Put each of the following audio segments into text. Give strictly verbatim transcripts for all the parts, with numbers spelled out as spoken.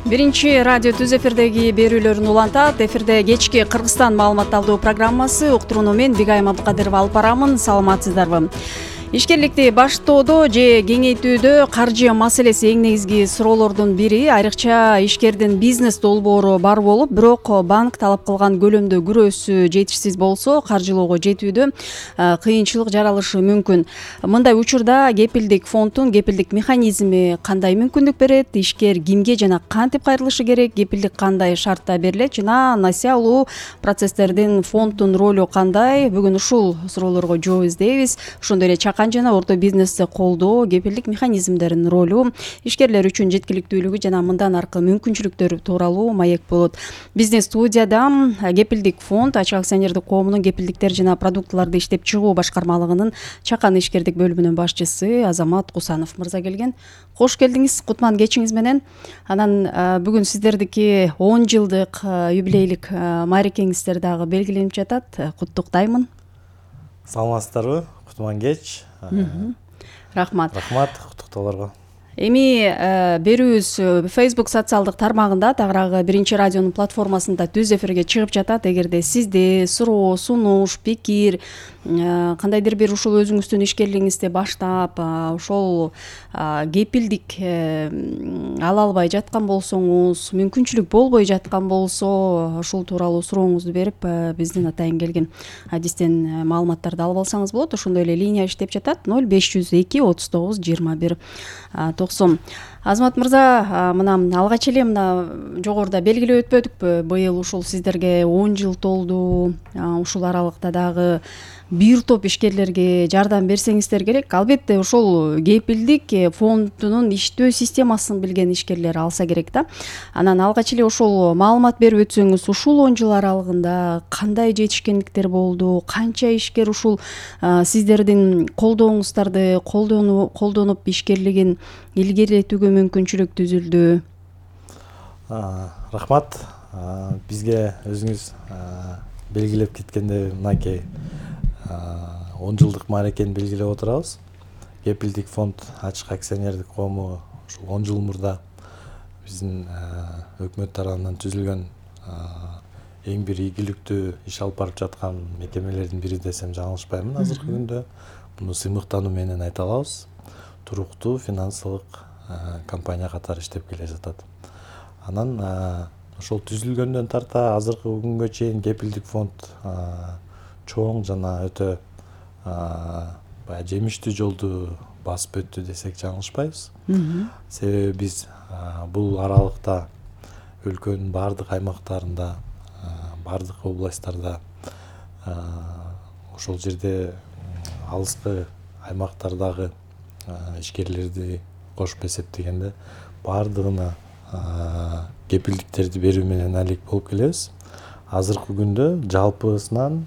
Биринчи радио Түз эфирдеги берүүлөрүн улантат. Эфирде кечки Кыргызстан маалыматталдоо программасы уктурууну мен Бигайым Абдыкадырова алып барамын. Саламатсыздарбы? Ишкерликти баштоодо же кеңейтүүдө каржы маселеси эң негизги суроолордун бири. Айрыкча ишкердин бизнес долбоору бар болуп, бирок банк талап кылган көлөмдө күрөөсү жетишсиз болсо, каржылоого жетүүдө кыйынчылык жаралышы мүмкүн. Мындай учурда кепилдик фонддун кепилдик механизми кандай мүмкүндүк берет? Ишкер кимге жана кантип кайрылышы керек? Кепилдик кандай шартта берилет жана насыя алуу процесстердин фонддун ролу кандай? Бүгүн ушул суроолорго жооп издейбиз. Ошондой эле чакан жана орто бизнести колдоо, кепилдик механизмдеринин ролу, ишкерлер үчүн жеткиликтүүлүгү жана мындан аркы мүмкүнчүлүктөрү тууралуу маек болот. Бизнес студияда кепилдик фонд ачык акционердик коомунун кепилдиктер жана продуктыларды иштеп чыгуу башкармалыгынын чакан ишкердик бөлүмүнүн башчысы Азамат Кусанов мырза келген. Кош келдиңиз, кутман кечиңиз менен. Анан бүгүн сиздердики он жылдык юбилейлик маарекеңиздер дагы белгиленип жатат. Куттуктаймын. Саламатсыздарбы? Кутман кеч. Рахмат. Рахмат куттуктоолорго. Эми берүүбүз Facebook социалдык тармагында, тагыраагы биринчи радионун платформасында түз эфирге чыгып жатат. Эгерде сизде суроо, сунуш, пикир, кандайдыр бир ушул өзүңүздүн ишкерлигиңизди баштап, ошол кепилдик ала албай жаткан болсоңуз, мүмкүнчүлүк болбой жаткан болсо, ушул тууралуу сурооңузду берип, биздин атайын келген адистен маалыматтарды алып алсаңыз болот. Ошондой эле линия иштеп жатат: ноль беш жүз эки отуз тогуз жыйырма бир токсон. Азамат мырза, мына алгач эле мына жогоруда белгилеп өтпөдүкпү? Быйыл ушул сиздерге он жыл толду. Ушул аралыкта дагы бир топ ишкерлерге жардам берсеңиздер керек. Албетте ошол кепилдик фондунун иштөө системасын билген ишкерлер алса керек да. Анан алгач эле ошол маалымат берип өтсөңүз, ушул он жыл аралыгында кандай жетишкендиктер болду? Канча ишкер ушул сиздердин колдооңуздарды колдонуп ишкерлигин илгерилетүүгө мүмкүнчүлүк түзүлдү? Рахмат. Бизге өзүңүз белгилеп кеткендей, мынакей он жылдык маарекени белгилеп отурабыз. Кепилдик фонд ачык акционердик коому ушул он жыл мурда биздин өкмөт тарабынан түзүлгөн эң бир ийгиликтүү иш алып барып жаткан мекемелердин бири десем жаңылышпаймын. Азыркы күндө муну сыймыктануу менен айта алабыз. Туруктуу финансылык компания катары иштеп келе жатат. Анан ошол түзүлгөндөн тарта азыркы күнгө чейин кепилдик фонд чоң жана өтө баягы жемиштүү жолду басып өттү десек жаңылышпайбыз. Себеби биз бул аралыкта өлкөнүн бардык аймактарында, бардык областтарда, ошол жерде алыскы аймактардагы ишкерлерди кошуп эсептегенде бардыгына кепилдиктерди берүү менен алек болуп келебиз. Азыркы күндө жалпысынан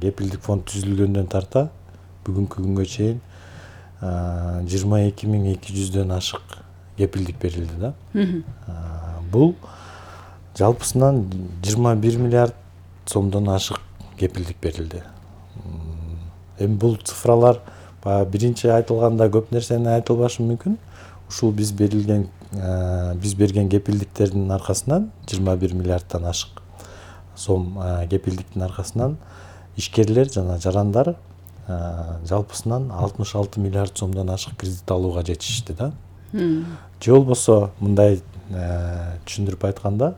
кепилдик фонд түзүлгөндөн тарта бүгүнкү күнгө чейин жыйырма эки миң эки жүздөн ашык кепилдик берилди да. Бул жалпысынан жыйырма бир миллиард сомдон ашык кепилдик берилди. Эми бул цифралар баягы биринчи айтылганда көп нерсени айтылбашы мүмкүн. Ушул биз берилген биз берген кепилдиктердин аркасынан жыйырма бир миллиарддан ашык сом кепилдиктин аркасынан ишкерлер жана жарандар жалпысынан алтымыш алты миллиард сомдон ашык кредит алууга жетишти да. Же болбосо мындай түшүндүрүп айтканда,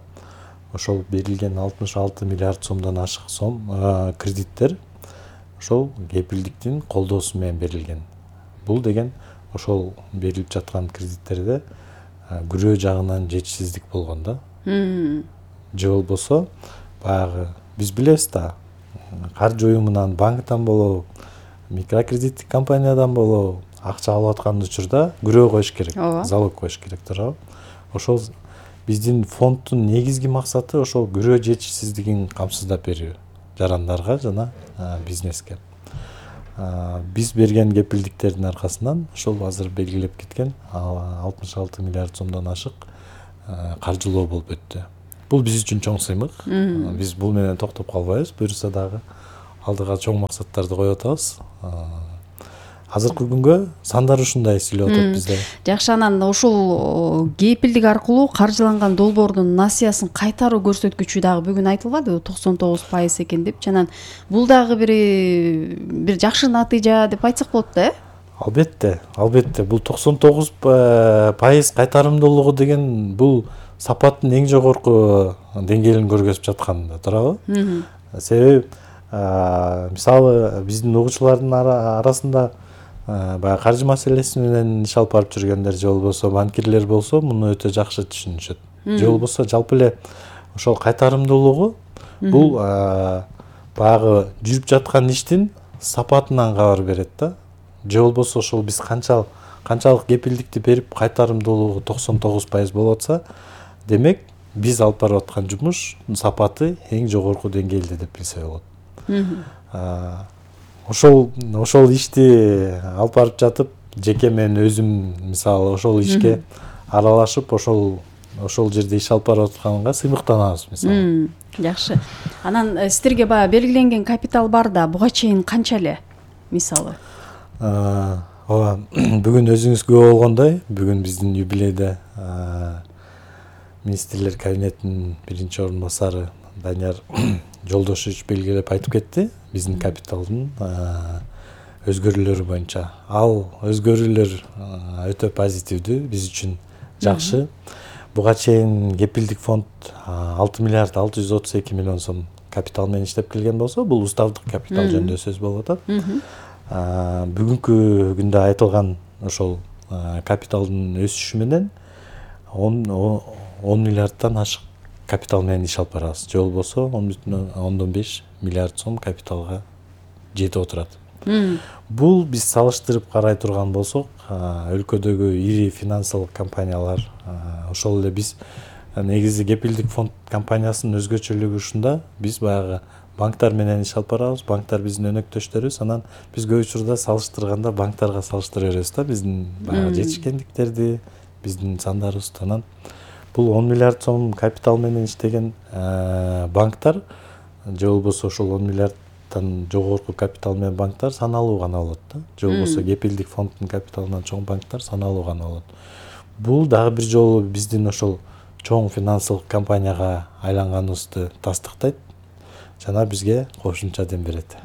ошол берилген алтымыш алты миллиард сомдон ашык сом кредиттер ошол кепилдиктин колдоосу менен берилген. Бул деген ошол берилип жаткан кредиттерде күрөө жагынан жетишсиздик болгон да. Же болбосо баягы биз билебиз да, каржы уюмунан, банктан болобу, микрокредиттик компаниядан болобу акча алып аткан учурда күрөө коюш керек, залог коюш керек, туурабы? Ошол биздин фонддун негизги максаты ошол күрөө жетишсиздигин камсыздап берүү жарандарга жана бизнеске. Биз берген кепилдиктердин аркасынан ошол азыр белгилеп кеткен алтымыш алты миллиард сомдон ашык каржылоо болуп өттү. Бул биз үчүн чоң сыймык. Биз бул менен токтоп калбайбыз. Буюрса дагы алдыга чоң максаттарды коюп атабыз. азыркы күнгө сандар ушундай сүйлөп атат бизде. Жакшы, анан ошол кепилдик аркылуу каржыланган долбоордун насыясын кайтаруу көрсөткүчү дагы бүгүн айтылбадыбы, токсон тогуз пайыз экен депчи. Анан бул дагы бир бир жакшы натыйжа деп айтсак болот да, э? Албетте, албетте. Бул токсон тогуз пайыз кайтарымдуулугу деген бул сапаттын эң жогорку деңгээлин көргөзүп жаткан да туурабы? Себеби мисалы биздин угуучулардын арасында баягы каржы маселеси менен иш алып барып жүргөндөр же болбосо банкирлер болсо муну өтө жакшы түшүнүшөт. Же болбосо жалпы эле ошол кайтарымдуулугу бул баягы жүрүп жаткан иштин сапатынан кабар берет да. Же болбосо ошол биз канчалык канчалык кепилдикти берип кайтарымдуулугу токсон тогуз пайыз болуп атса, демек биз алып барып аткан жумуш сапаты эң жогорку деңгээлде деп билсе болот. Ошол ошол ишти алып барып жатып, жеке мен өзүм мисалы ошол ишке аралашып, ошол ошол жерде иш алып барып атканга сыймыктанабыз мисалы. Жакшы. Анан сиздерге баягы белгиленген капитал бар да, буга чейин канча эле мисалы? Ооба, бүгүн өзүңүз күбө болгондой, бүгүн биздин юбилейде министрлер кабинетинин биринчи орун басары Данияр Жолдошевич белгилеп айтып кетти биздин капиталдын өзгөрүүлөрү боюнча. Ал өзгөрүүлөр өтө позитивдүү, биз үчүн жакшы. Буга чейин кепилдик фонд алты миллиард алты жүз отуз эки миллион сом капитал менен иштеп келген болсо, бул уставдык капитал жөнүндө сөз болуп атат. Бүгүнкү күндө айтылган ошол капиталдын өсүшү менен он миллиардтан ашык капитал менен иш алып барабыз. Же болбосо он бүтүн ондон беш миллиард сом капиталга жетип отурат. Бул биз салыштырып карай турган болсок, өлкөдөгү ири финансылык компаниялар, ошол эле биз негизи кепилдик фонд компаниясынын өзгөчөлүгү ушунда, биз баягы банктар менен иш алып барабыз, банктар биздин өнөктөштөрүбүз, анан биз көп учурда салыштырганда банктарга салыштыра беребиз да, биздин баягы жетишкендиктерди, биздин сандарыбызды. Анан бул он миллиард сом капитал менен иштеген банктар, же болбосо ошол он миллиардтан жогорку капитал менен банктар саналуу гана болот да. Же болбосо кепилдик фонддун капиталынан чоң банктар саналуу гана болот. Бул дагы бир жолу биздин ошол чоң финансылык компанияга айланганыбызды тастыктайт жана бизге кошумча дем берет.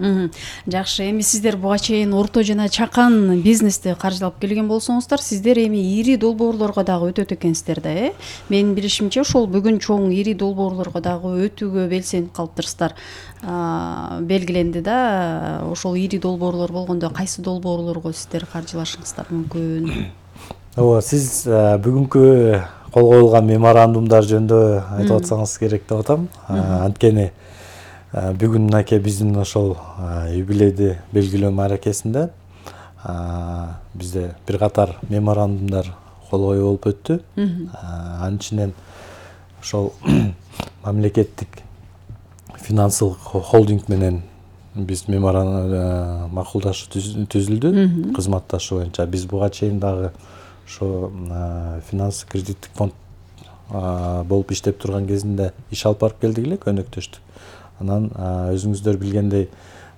Жакшы, эми сиздер буга чейин орто жана чакан бизнести каржылап келген болсоңуздар, сиздер эми ири долбоорлорго дагы өтөт экенсиздер да, э? Менин билишимче, ошол бүгүн чоң ири долбоорлорго дагы өтүүгө белсенип калыптырсыздар. Белгиленди да, ошол ири долбоорлор болгондо кайсы долбоорлорго сиздер каржылашыңыздар мүмкүн? Ооба, сиз бүгүнкү кол коюлган меморандумдар жөнүндө айтып атсаңыз керек деп атам. Анткени бүгүн мынакей биздин ошол юбилейди белгилөө аракетинде бизде бир катар меморандумдар кол коюу болуп өттү. Анын ичинен ошол мамлекеттик финансылык холдинг менен биз меморандум макулдашуу түзүлдү, кызматташуу боюнча. Биз буга чейин дагы ошо финанс кредиттик фонд болуп иштеп турган кезинде иш алып барып келдик эле, өнөктөштүк. Анан өзүңүздөр билгендей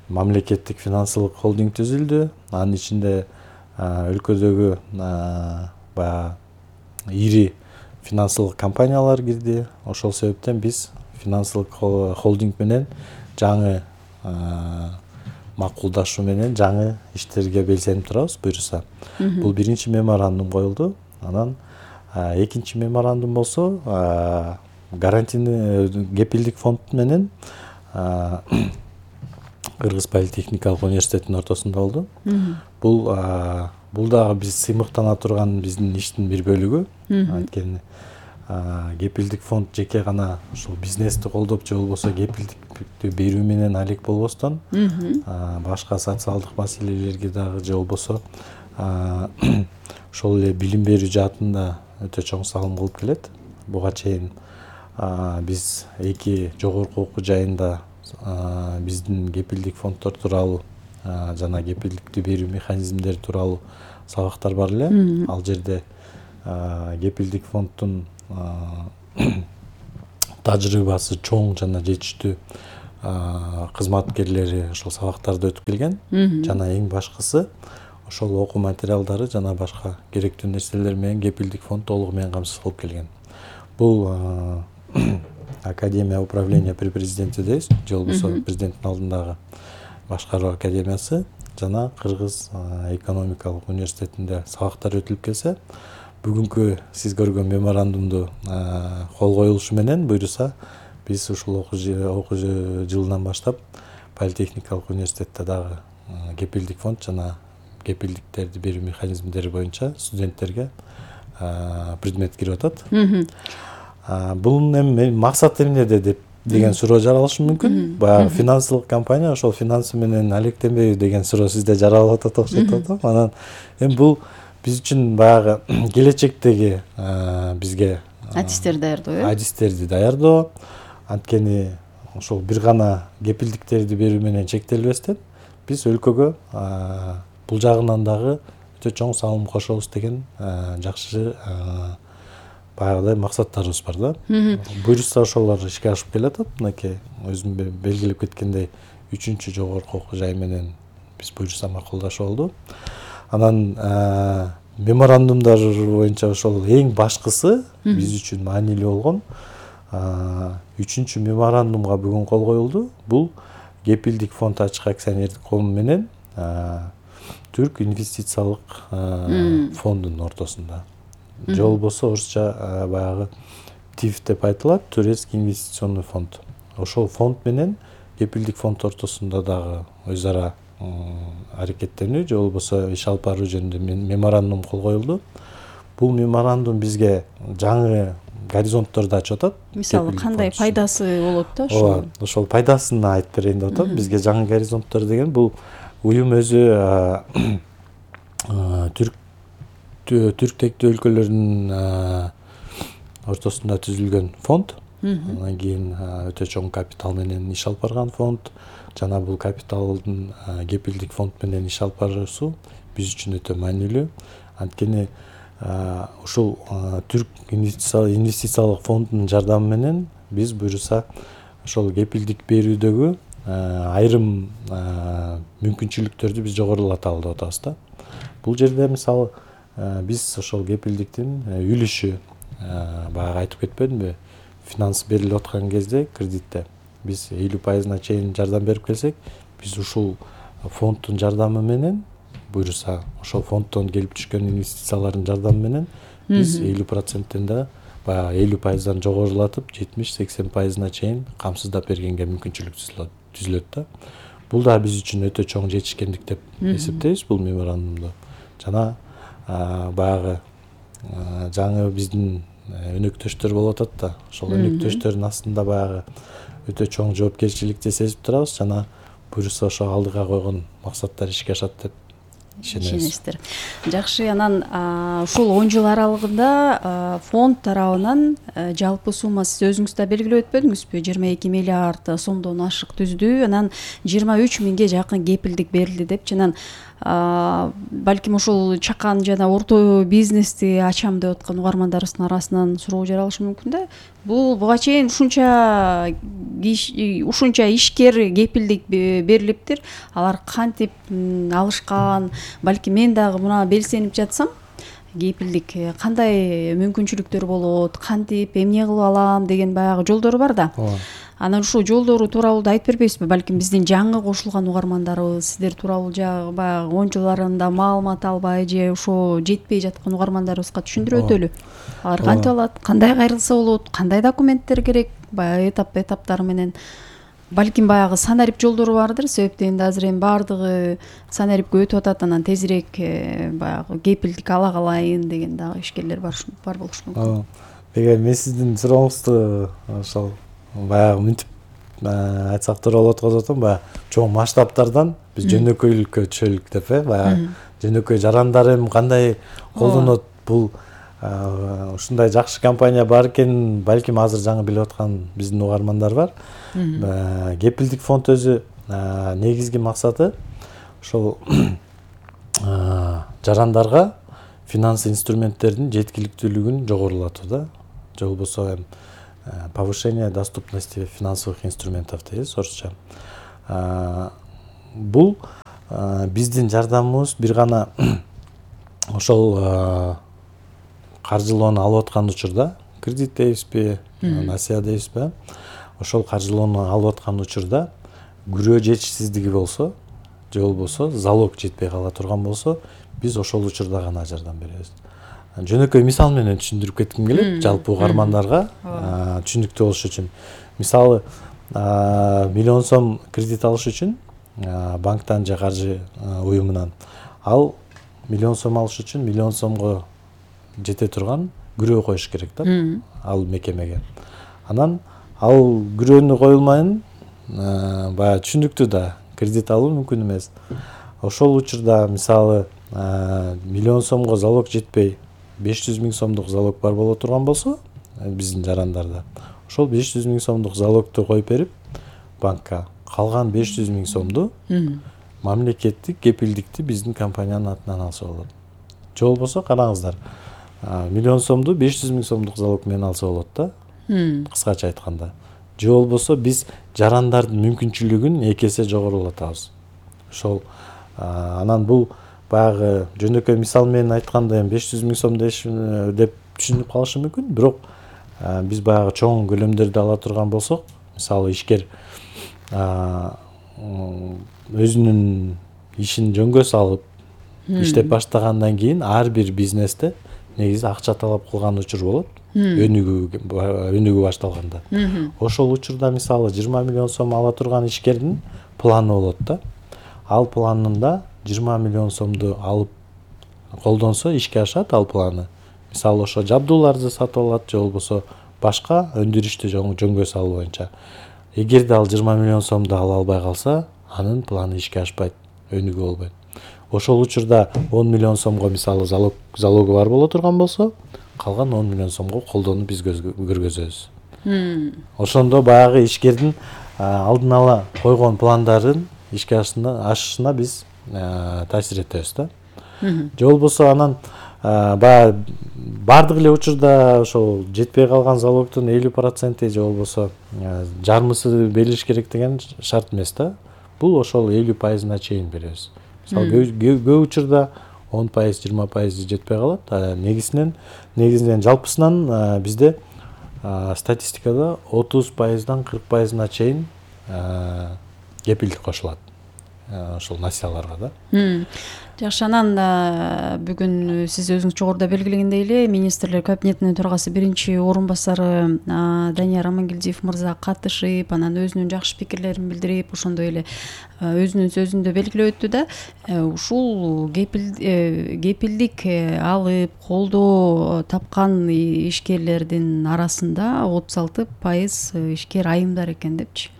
мамлекеттик финансылык холдинг түзүлдү. Анын ичинде өлкөдөгү баягы ири финансылык компаниялар кирди. Ошол себептен биз финансылык холдинг менен жаңы макулдашуу менен жаңы иштерге белсенип турабыз буюрса. Бул биринчи меморандум коюлду. Анан экинчи меморандум болсо гарантийный кепилдик фонд менен Кыргыз политехникалык университетинин ортосунда болду. Бул бул дагы биз сыймыктана турган биздин иштин бир бөлүгү. Анткени кепилдик фонд жеке гана ушул бизнести колдоп же болбосо кепилдикти берүү менен алек болбостон, башка социалдык маселелерге дагы же болбосо ошол эле билим берүү жаатында өтө чоң салым кылып келет. Буга чейин биз эки жогорку окуу жайында биздин кепилдик фонддор тууралуу жана кепилдикти берүү механизмдери тууралуу сабактар бар эле. Ал жерде кепилдик фонддун тажрыйбасы чоң жана жетиштүү кызматкерлери ошол сабактарды өтүп келген. Жана эң башкысы ошол окуу материалдары жана башка керектүү нерселер менен кепилдик фонд толугу менен камсыз кылып келген. Бул Академия управления при президенте дейбиз, же болбосо президенттин алдындагы башкаруу академиясы жана Кыргыз экономикалык университетинде сабактар өтүлүп келсе, бүгүнкү сиз көргөн меморандумду кол коюлушу менен буюрса биз ушул окуу жылынан баштап Политехникалык университетте дагы кепилдик фонд жана кепилдиктерди берүү механизмдери боюнча студенттерге предмет кирип атат. Бул эми максат эмнеде деп деген суроо жаралышы мүмкүн. Баягы финансылык компания ошол финансы менен алектенбейби деген суроо сизде жаралып атат окшойт атам. Анан эми бул биз үчүн баягы келечектеги бизге адистерди даярдоо, э? Адистерди даярдоо. Анткени ошол бир гана кепилдиктерди берүү менен чектелбестен биз өлкөгө бул жагынан дагы өтө чоң салым кошобуз деген жакшы баягыдай максаттарыбыз бар да. Буюрса ошолор ишке ашып келатат. Мынакей өзүм белгилеп кеткендей үчүнчү жогорку окуу жай менен биз буюрса макулдашып алды. Анан меморандумдар боюнча ошол эң башкысы биз үчүн маанилүү болгон үчүнчү меморандумга бүгүн кол коюлду. Бул кепилдик фонд ачык акционердик коому менен Түрк инвестициялык фондунун ортосунда. Же болбосо орусча баягы ТИФ деп айтылат, Турецкий инвестиционный фонд. Ошол фонд менен кепилдик фонд ортосунда дагы өз ара аракеттенүү же болбосо иш алып баруу жөнүндө меморандум кол коюлду. Бул меморандум бизге жаңы горизонтторду ачып атат. Мисалы кандай пайдасы болот да ошол? Ооба, ошол пайдасын айтып берейин деп атам. Бизге жаңы горизонттор деген бул уюм өзү түрк түрктектүү өлкөлөрдүн ортосунда түзүлгөн фонд. Андан кийин өтө чоң капитал менен иш алып барган фонд жана бул капиталдын кепилдик фонд менен иш алып баруусу биз үчүн өтө маанилүү. Анткени ушул түрк инвестициялык фондунун жардамы менен биз буюрса ошол кепилдик берүүдөгү айрым мүмкүнчүлүктөрдү биз жогорулата алып атабыз да. Бул жерде мисалы биз ошол кепилдиктин үлүшү баягы айтып кетпедимби? Финанс берилип аткан кезде кредитте биз элүү пайызына чейин жардам берип келсек, биз ушул фонддун жардамы менен буюрса ошол фонддон келип түшкөн инвестициялардын жардамы менен биз элүү проценттен да баягы элүү пайыздан жогорулатып жетимиш сексен пайызына чейин камсыздап бергенге мүмкүнчүлүк түзүлөт да. Бул да биз үчүн өтө чоң жетишкендик деп эсептейбиз бул меморандумду. Жана баягы жаңы биздин өнөктөштөр болуп атат да. Ошол өнөктөштөрдүн астында баягы өтө чоң жоопкерчиликти сезип турабыз жана буюрса ошо алдыга койгон максаттар ишке ашат деп ишенесиздер. Жакшы, анан ушул он жыл аралыгында фонд тарабынан жалпы сумма сиз өзүңүз да белгилеп өтпөдүңүзбү? жыйырма эки миллиард сомдон ашык түздү. Анан жыйырма үч миңге жакын кепилдик берилди депчи. Анан балким ушул чакан жана орто бизнести ачам деп аткан угармандарыбыздын арасынан суроо жаралышы мүмкүн да. Бул буга чейин ушунча ушунча ишкер кепилдик берилиптир. Алар кантип алышкан? Балким мен дагы мына белсенип жатсам, кепилдик кандай мүмкүнчүлүктөр болот, кантип эмне кылып алам деген баягы жолдору бар да. Анан ушул жолдору тууралуу да айтып бербейсизби? Балким биздин жаңы кошулган угармандарыбыз сиздер тууралуу баягы он жыл аралыгында маалымат албай же ошо жетпей жаткан угармандарыбызга түшүндүрүп өтөлү. Алар кантип алат, кандай кайрылса болот, кандай документтер керек, баягы этап этаптары менен. Балким баягы санарип жолдору бардыр, себептен да азыр эми баардыгы санарипке өтүп атат, анан тезирээк баягы кепилдик ала калайын деген дагы ишкерлер бар бар болушу мүмкүн. Деге мен сиздин сурооңузду ошол баягы мынтип айтсак туура болот го атам, баягы чоң масштабтардан биз жөнөкөйлүккө түшөлүк деп э, баягы жөнөкөй жарандар эми кандай колдонот, бул ушундай жакшы компания бар экен, балким азыр жаңы билип аткан биздин угармандар бар. Кепилдик фонд өзү негизги максаты ошол жарандарга финанс инструменттердин жеткиликтүүлүгүн жогорулатуу да. Же болбосо эми повышение доступности финансовых инструментов дейбиз орусча. Бул биздин жардамыбыз бир гана ошол каржылоону алып аткан учурда, кредит дейбизби, насыя дейбизби, ошол каржылоону алып аткан учурда күрөө жетишсиздиги болсо, же болбосо залог жетпей кала турган болсо, биз ошол учурда гана жардам беребиз. Жөнөкөй мисал менен түшүндүрүп кетким келет, жалпы угармандарга түшүнүктүү болуш үчүн. Мисалы, миллион сом кредит алыш үчүн банктан же каржы уюмунан ал миллион сом алыш үчүн миллион сомго жете турган күрөө коюш керек да, ал мекемеге. Анан ал күрөөнү коюлмайын, баягы түшүнүктүү да, кредит алуу мүмкүн эмес. Ошол учурда мисалы миллион сомго залог жетпей, беш жүз миң сомдук залог бар боло турган болсо, биздин жарандарда, ошол беш жүз миң сомдук залогду коюп берип банкка, калган беш жүз миң сомду мамлекеттик кепилдикти биздин компаниянын атынан алса болот. Же болбосо караңыздар, миллион сомду беш жүз миң сомдук залог менен алса болот да, кыскача айтканда. Же болбосо биз жарандардын мүмкүнчүлүгүн эки эсе жогорулатабыз. Ошол анан бул баягы жөнөкөй мисал менен айтканда эми беш жүз миң сом деп түшүнүп калышы мүмкүн, бирок биз баягы чоң көлөмдөрдү ала турган болсок, мисалы ишкер өзүнүн ишин жөнгө салып иштеп баштагандан кийин ар бир бизнесте негизи акча талап кылган учур болот, өнүгүү өнүгүү башталганда. Ошол учурда мисалы жыйырма миллион сом ала турган ишкердин планы болот да. Ал планында жыйырма миллион сомду алып колдонсо ишке ашат ал планы. Мисалы ошо жабдууларды сатып алат, же болбосо башка өндүрүштү жөнгө салуу боюнча. Эгерде ал жыйырма миллион сомду ала албай калса, анын планы ишке ашпайт, өнүгүү болбойт. Ошол учурда он миллион сомго мисалы залог залогу бар боло турган болсо, калган он миллион сомго колдонуп биз көргөзөбүз. Ошондо баягы ишкердин алдын ала койгон пландарын ишке ашышына биз таасир этебиз да. Же болбосо анан баягы бардык эле учурда ошол жетпей калган залогдун элүү проценти же болбосо жарымысы берилиш керек деген шарт эмес да. Бул ошол элүү пайызына чейин беребиз. Мисалы көп учурда он пайыз, жыйырма пайыз жетпей калат. Негизинен негизинен жалпысынан бизде статистикада отуз пайыздан кырк пайызына чейин кепилдик кошулат. Ошол насияларга да. Жакшы, анан бүгүн сиз өзүңүз жогоруда белгилегендей эле министрлер кабинетинин төрагасы биринчи орун басары Данияр Амангелдиев мырза катышып, анан өзүнүн жакшы пикирлерин билдирип, ошондой эле өзүнүн сөзүндө белгилеп өттү да, ушул кепилдик алып колдоо тапкан ишкерлердин арасында отуз алты пайыз ишкер айымдар экен депчи.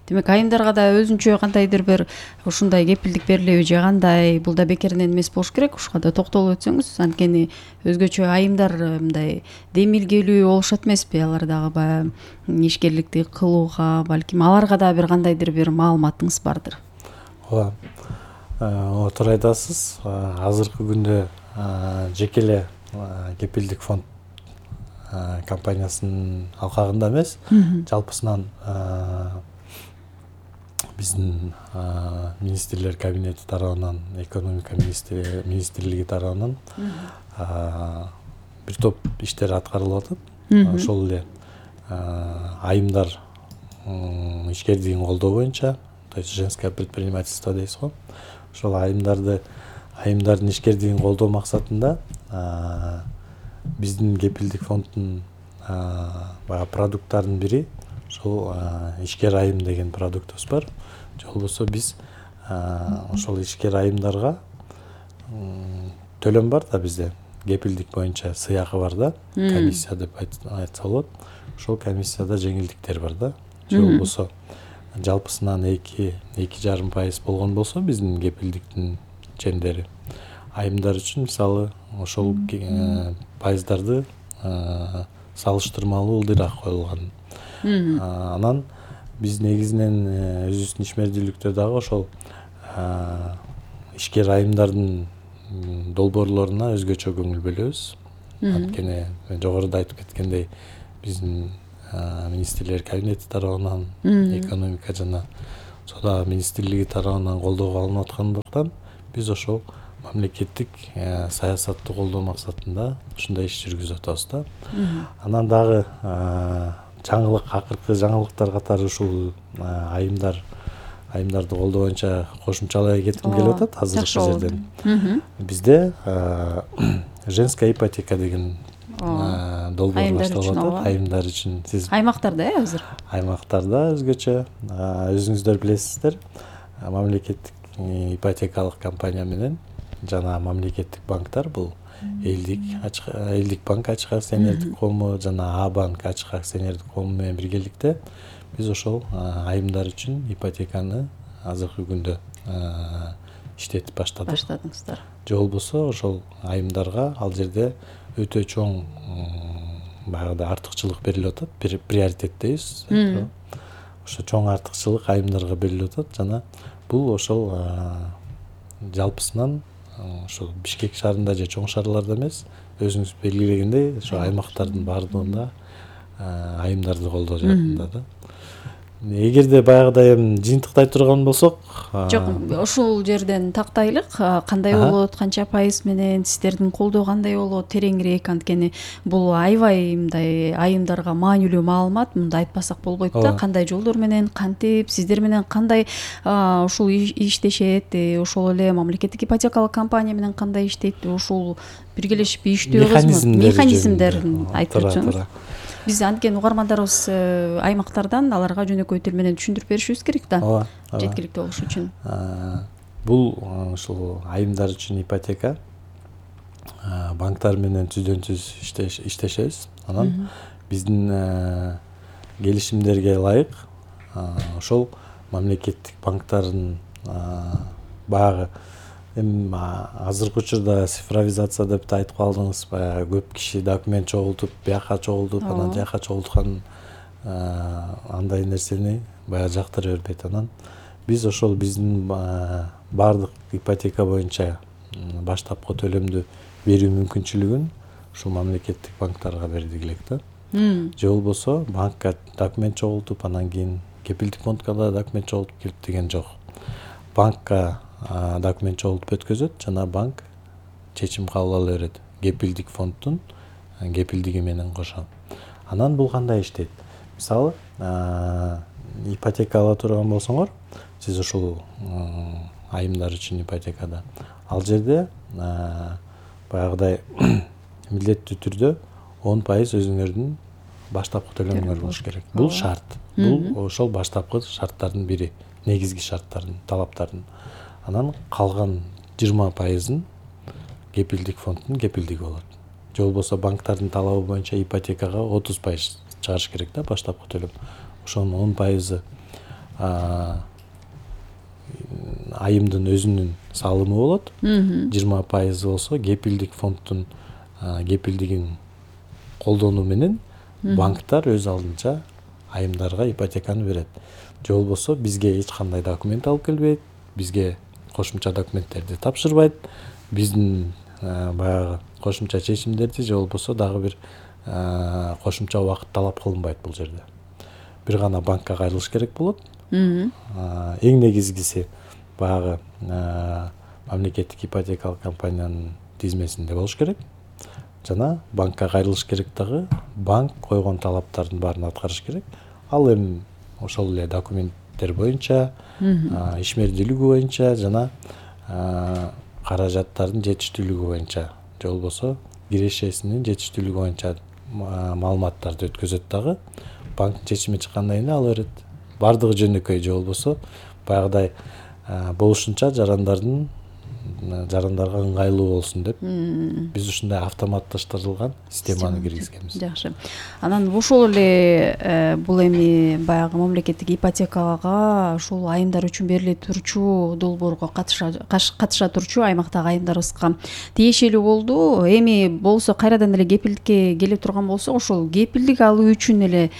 Демек, айымдарга да өзүнчө кандайдыр бир ушундай кепилдик берилеби же кандай, бул да бекеринен эмес болуш керек. Ушуга да токтолуп өтсөңүз, анткени өзгөчө айымдар мындай демилгелүү болушат эмеспи, алар дагы баягы ишкерликти кылууга, балким аларга да бир кандайдыр бир маалыматыңыз бардыр. Ооба, туура айтасыз. Азыркы күндө жеке эле кепилдик фонд компаниясынын алкагында эмес, жалпысынан биздин министрлер кабинети тарабынан, экономика министрлиги тарабынан бир топ иштер аткарылып атат. Ошол эле айымдар ишкердигин колдоо боюнча, то есть женское предпринимательство дейбиз го. Ошол айымдарды айымдардын ишкердигин колдоо максатында биздин кепилдик фонддун баягы продукттарынын бири ошол ишкер айым деген продуктубуз бар. Же болбосо биз ошол ишкер айымдарга төлөм бар да бизде. Кепилдик боюнча сыйакы бар да, комиссия деп айтса болот. Ошол комиссияда жеңилдиктер бар да. Же болбосо жалпысынан эки эки жарым пайыз болгон болсо биздин кепилдиктин чендери айымдар үчүн мисалы ошол пайыздарды салыштырмалуу ылдыйраак коюлган. Анан биз негизинен өзүбүздүн ишмердүүлүктө дагы ошол ишкер айымдардын долбоорлоруна өзгөчө көңүл бөлөбүз. Анткени жогоруда айтып кеткендей, биздин министрлер кабинети тарабынан экономика жана Соода министрлиги тарабынан колдоого алынып аткандыктан биз ошол мамлекеттик саясатты колдоо максатында ушундай иш жүргүзүп атабыз да. Анан дагы жаңылык, акыркы жаңылыктар катары ушул айымдар айымдарды колдоо боюнча кошумчалай кетким келип атат азыркы жерден. Бизде женская ипотека деген долбоор башталып атат айымдар үчүн. Сиз аймактарда э азыр? Аймактарда өзгөчө. Өзүңүздөр билесиздер, мамлекеттик ипотекалык компания менен жана мамлекеттик банктар бул элдик элдик банк ачык акционердик коому жана А банк ачык акционердик коому менен биргеликте биз ошол айымдар үчүн ипотеканы азыркы күндө иштетип баштадык. Баштадыңыздар. Же болбосо ошол айымдарга ал жерде өтө чоң баягы артыкчылык берилип атат. Приоритет дейбиз. Ошо чоң артыкчылык айымдарга берилип атат жана бул ошол жалпысынан ошол Бишкек шаарында же чоң шаарларда эмес, өзүңүз белгилегендей ошо аймактардын баардыгында айымдарды колдоо жаатында да. Эгерде баягыдай эми жыйынтыктай турган болсок, жок, ушул жерден тактайлык, кандай болот, канча пайыз менен сиздердин колдоо кандай болот, тереңирээк, анткени бул аябай мындай айымдарга маанилүү маалымат, мындай айтпасак болбойт да, кандай жолдор менен, кантип, сиздер менен кандай ушул иштешет, ошол эле мамлекеттик ипотекалык компания менен кандай иштейт, ушул биргелешип иштөөбүз механизмдерин айтып өтсөңүз. Биз анткени угармандарыбыз аймактардан аларга жөнөкөй тил менен түшүндүрүп беришибиз керек да. Ооба. Жеткиликтүү болуш үчүн. Бул ушул айымдар үчүн ипотека банктар менен түздөн-түз иштешебиз. Анан биздин келишимдерге ылайык ошол мамлекеттик банктардын баягы эми азыркы учурда цифровизация деп да айтып калдыңыз, баягы көп киши документ чогултуп, бияка чогултуп, анан жака чогулткан андай нерсени баягы жактыра бербейт. Анан биз ошол биздин баардык ипотека боюнча баштапкы төлөмдү берүү мүмкүнчүлүгүн ушул мамлекеттик банктарга бердик элек да. Же болбосо банкка документ чогултуп, анан кийин кепилдик фондко да документ чогултуп келип деген жок. Банкка документ чогултуп өткөзөт жана банк чечим кабыл ала берет. Кепилдик фонддун кепилдиги менен кошо. Анан бул кандай иштейт? Мисалы, ипотека ала турган болсоңор, сиз ушул айымдар үчүн ипотекада, ал жерде баягыдай милдеттүү түрдө он пайыз өзүңөрдүн баштапкы төлөмүңөр болуш керек. Бул шарт. Бул ошол баштапкы шарттардын бири, негизги шарттардын, талаптардын. Анан калган жыйырма пайызын кепилдик фонддун кепилдиги болот. Же болбосо банктардын талабы боюнча ипотекага отуз пайыз чыгарыш керек да баштапкы төлөм. Ошонун он пайызы айымдын өзүнүн салымы болот. жыйырма пайызы болсо кепилдик фонддун кепилдигин колдонуу менен банктар өз алдынча айымдарга ипотеканы берет. Же болбосо бизге эч кандай документ алып келбейт, бизге кошумча документтерди тапшырбайт, биздин баягы кошумча чечимдерди же болбосо дагы бир кошумча убакыт талап кылынбайт бул жерде. Бир гана банкка кайрылыш керек болот. Эң негизгиси баягы мамлекеттик ипотекалык компаниянын тизмесинде болуш керек. Жана банкка кайрылыш керек дагы, банк койгон талаптардын баарын аткарыш керек. Ал эми ошол эле документтер боюнча, ишмердүүлүгү боюнча жана каражаттардын жетиштүүлүгү боюнча, же болбосо кирешесинин жетиштүүлүгү боюнча маалыматтарды өткөзөт дагы. Банк чечими чыккандан кийин ала берет. Бардыгы жөнөкөй, же болбосо баягыдай болушунча жарандардын жарандарга ыңгайлуу болсун деп биз ушундай автоматташтырылган системаны киргизгенбиз. Жакшы. Анан ошол эле бул эми баягы мамлекеттик ипотекага ушул айымдар үчүн бериле турчу долбоорго катыша турчу аймактагы айымдарыбызга тиешелүү болду. Эми болсо кайрадан эле кепилдикке келе турган болсок, ошол кепилдик алуу үчүн эле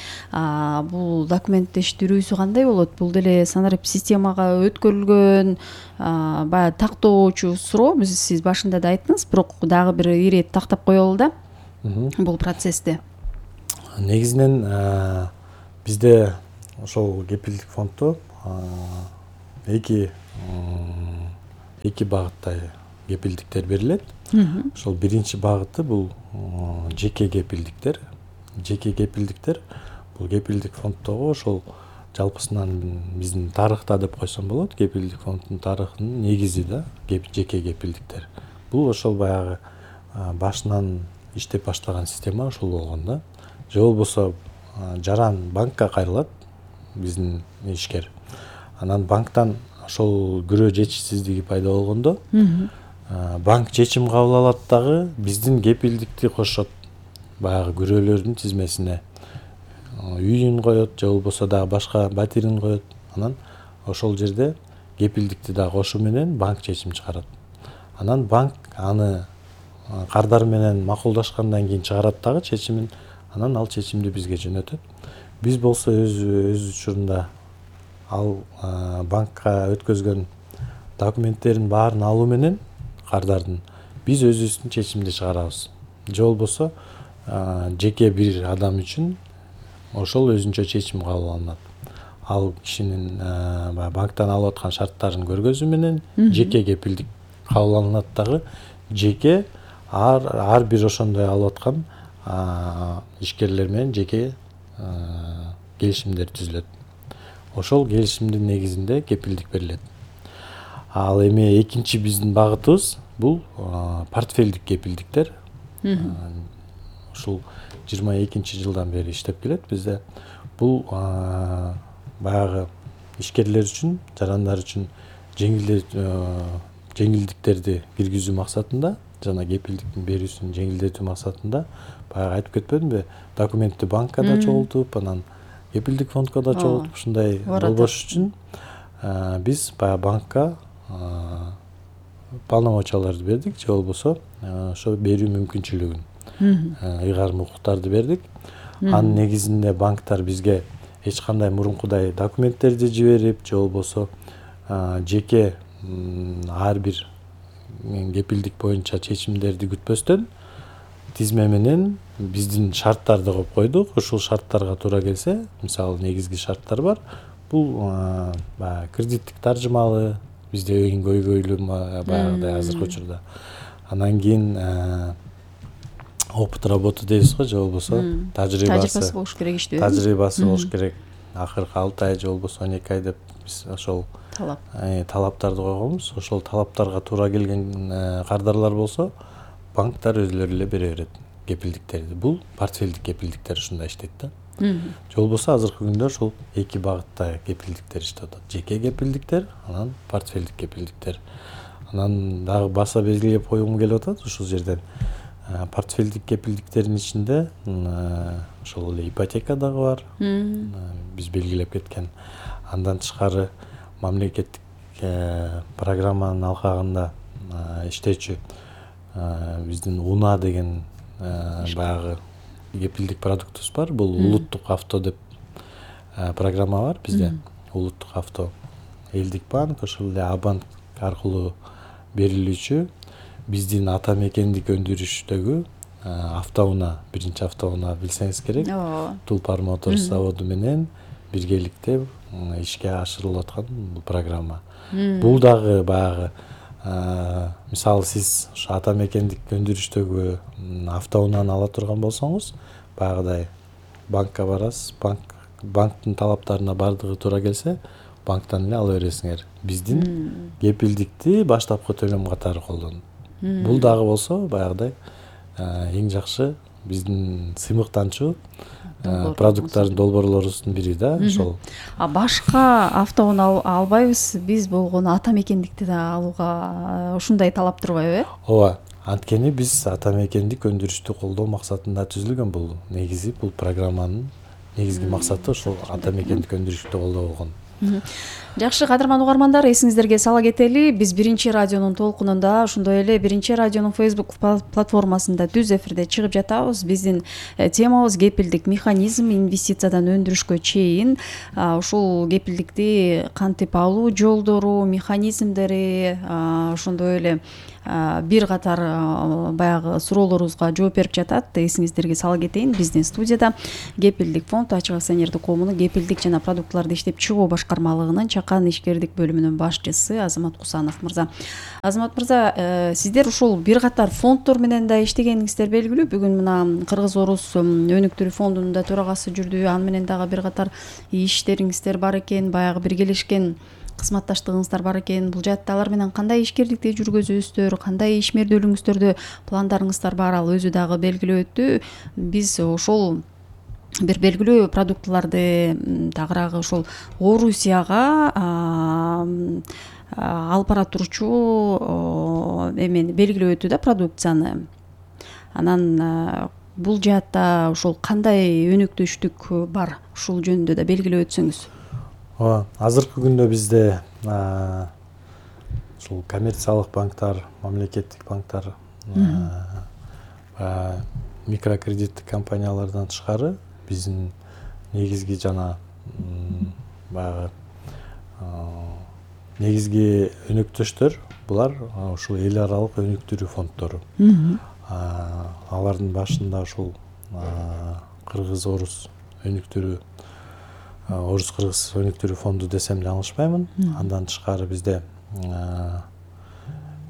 бул документтештирүүсү кандай болот? Бул деле санарип системага өткөрүлгөн баягы тактоочу суроо. Биз сиз башында да айттыңыз, бирок дагы бир ирет тактап коелу да бул процессте. Негизинен бизде ошол кепилдик фонддо эки эки багытта кепилдиктер берилет. Ошол биринчи багыты бул жеке кепилдиктер. Жеке кепилдиктер бул кепилдик фонддогу ошол жалпысынан биздин тарыхта деп койсом болот. Кепилдик фонддун тарыхынын негизи да жеке кепилдиктер. Бул ошол баягы башынан иштеп баштаган система ошол болгон да. Же болбосо жаран банкка кайрылат биздин ишкер. Анан банктан ошол күрөө жетишсиздиги пайда болгондо банк чечим кабыл алат дагы биздин кепилдикти кошот баягы күрөөлөрдүн тизмесине. Үйүн коет, же болбосо дагы башка батирин коет. Анан ошол жерде кепилдикти дагы кошу менен банк чечим чыгарат. Анан банк аны кардар менен макулдашкандан кийин чыгарат дагы чечимин. Анан ал чечимди бизге жөнөтөт. Биз болсо өз өз учурунда ал банкка өткөзгөн документтерин баарын алуу менен кардардын биз өзүбүздүн чечимди чыгарабыз. Же болбосо жеке бир адам үчүн ошол өзүнчө чечим кабыл алынат. Ал кишинин банктан алып аткан шарттарын көргөзүү менен жеке кепилдик кабыл алынат дагы жеке ар ар бир ошондой алып аткан ишкерлер менен жеке келишимдер түзүлөт. Ошол келишимдин негизинде кепилдик берилет. Ал эми экинчи биздин багытыбыз бул портфелдик кепилдиктер. Ушул жыйырма экинчи жылдан бери иштеп келет бизде. Бул баягы ишкерлер үчүн, жарандар үчүн жеңилдиктерди киргизүү максатында жана кепилдиктин берүүсүн жеңилдетүү максатында баягы айтып кетпедимби, документти банкка да чогултуп, анан кепилдик фондко да чогултуп ушундай болбош үчүн биз баягы банкка полномочияларды бердик, же болбосо ошо берүү мүмкүнчүлүгүн, ыйгарым укуктарды бердик. Анын негизинде банктар бизге эч кандай мурункудай документтерди жиберип, же болбосо жеке ар бир кепилдик боюнча чечимдерди күтпөстөн тизме менен биздин шарттарды коюп койдук. Ушул шарттарга туура келсе, мисалы негизги шарттар бар. Бул баягы кредиттик таржымалы, бизде эң көйгөйлүү баягыдай азыркы учурда. Анан кийин опыт работы дейбиз го, же болбосо тажрыйбасы болуш керек иштөө. Тажрыйбасы болуш керек. Акыркы алты ай же болбосо он эки ай деп биз ошол талап талаптарды койгонбуз. Ошол талаптарга туура келген кардарлар болсо, банктар өзлөрү эле бере берет кепилдиктерди. Бул портфелдик кепилдиктер ушундай иштейт да. Же болбосо азыркы күндө ушул эки багытта кепилдиктер иштеп атат. Жеке кепилдиктер, анан портфелдик кепилдиктер. Анан дагы баса белгилеп койгум келип атат ушул жерден. Портфелдик кепилдиктердин ичинде ошол эле ипотека дагы бар. Биз белгилеп кеткен. Андан тышкары мамлекеттик программанын алкагында иштечү биздин УНА деген баягы кепилдик продуктубуз бар. Бул улуттук авто деп программа бар бизде. Улуттук авто, элдик банк, ошол эле Абанк аркылуу берилүүчү биздин ата мекендик өндүрүштөгү автоунаа, биринчи автоунаа билсеңиз керек. Тулпар Моторс заводу менен биргеликте ишке ашырылып аткан бул программа. Бул дагы баягы мисалы сиз ушу ата мекендик өндүрүштөгү автоунааны ала турган болсоңуз, баягыдай банкка барасыз, банк банктын талаптарына бардыгы туура келсе, банктан эле ала бересиңер. Биздин кепилдикти баштапкы төлөм катары колдонот. Бул дагы болсо баягыдай эң жакшы биздин сыймыктанчу продукттардын долбоорлорубуздун бири да ошол. А башка автоунаа албайбыз, биз болгону ата мекендикти да алууга ушундай талап турбайбы, э? Ооба, анткени биз ата мекендик өндүрүштү колдоо максатында түзүлгөн бул негизи, бул программанын негизги максаты ошол ата мекендик өндүрүштү колдоо болгон. Жакшы, кадырман угармандар, эсиңиздерге сала кетели, биз биринчи радионун толкунунда, ошондой эле биринчи радионун Facebook платформасында түз эфирде чыгып жатабыз. Биздин темабыз кепилдик механизм, инвестициядан өндүрүшкө чейин. Ушул кепилдикти кантип алуу жолдору, механизмдери, ошондой эле бир катар баягы суроолорубузга жооп берип жатат. Эсиңиздерге сала кетейин, биздин студияда Кепилдик фонд ачык акционердик коомунун кепилдик жана продуктларды иштеп чыгуу башкармалыгынын чакан ишкердик бөлүмүнүн башчысы Азамат Кусанов мырза. Азамат мырза, сиздер ушул бир катар фонддор менен да иштегениңиздер белгилүү. Бүгүн мына Кыргыз-Орус өнүктүрүү фондунун да төрагасы жүрдү. Аны менен дагы бир катар иштериңиздер бар экен, баягы биргелешкен кызматташтыгыңыздар бар экен. Бул жаатта алар менен кандай ишкерликти жүргүзөсүздөр, кандай ишмердүүлүгүңүздөрдө пландарыңыздар бар, ал өзү дагы белгилеп өттү. Биз ошол бир белгилүү продуктларды тагыраагы ошол Орусияга алып бара турчу эмени белгилеп өттү да, продукцияны. Анан бул жаатта ошол кандай өнөктөштүк бар, ушул жөнүндө да белгилеп өтсөңүз. Ооба, азыркы күндө бизде ушул коммерциялык банктар, мамлекеттик банктар, микрокредиттик компаниялардан тышкары биздин негизги жана баягы негизги өнөктөштөр булар ушул эл аралык өнүктүрүү фонддору. Алардын башында ушул Кыргыз-Орус өнүктүрүү Орус-Кыргыз өнүктүрүү фонду десем жаңылышпаймын. Андан тышкары бизде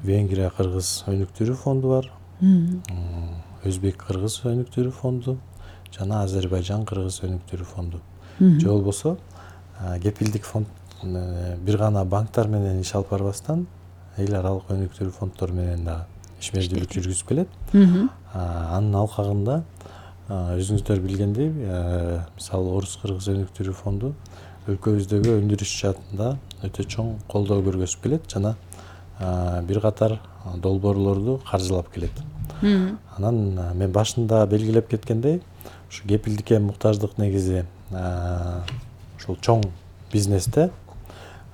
Венгрия-Кыргыз өнүктүрүү фонду бар, Өзбек-Кыргыз өнүктүрүү фонду жана Азербайжан-Кыргыз өнүктүрүү фонду. Же болбосо кепилдик фонд бир гана банктар менен иш алып барбастан эл аралык өнүктүрүү фонддор менен да ишмердүүлүк жүргүзүп келет. Анын алкагында өзүңүздөр билгендей, мисалы Орус-Кыргыз өнүктүрүү фонду өлкөбүздөгү өндүрүш жаатында өтө чоң колдоо көргөзүп келет жана бир катар долбоорлорду каржылап келет. Анан мен башында белгилеп кеткендей, ушу кепилдикке муктаждык негизи ушул чоң бизнесте,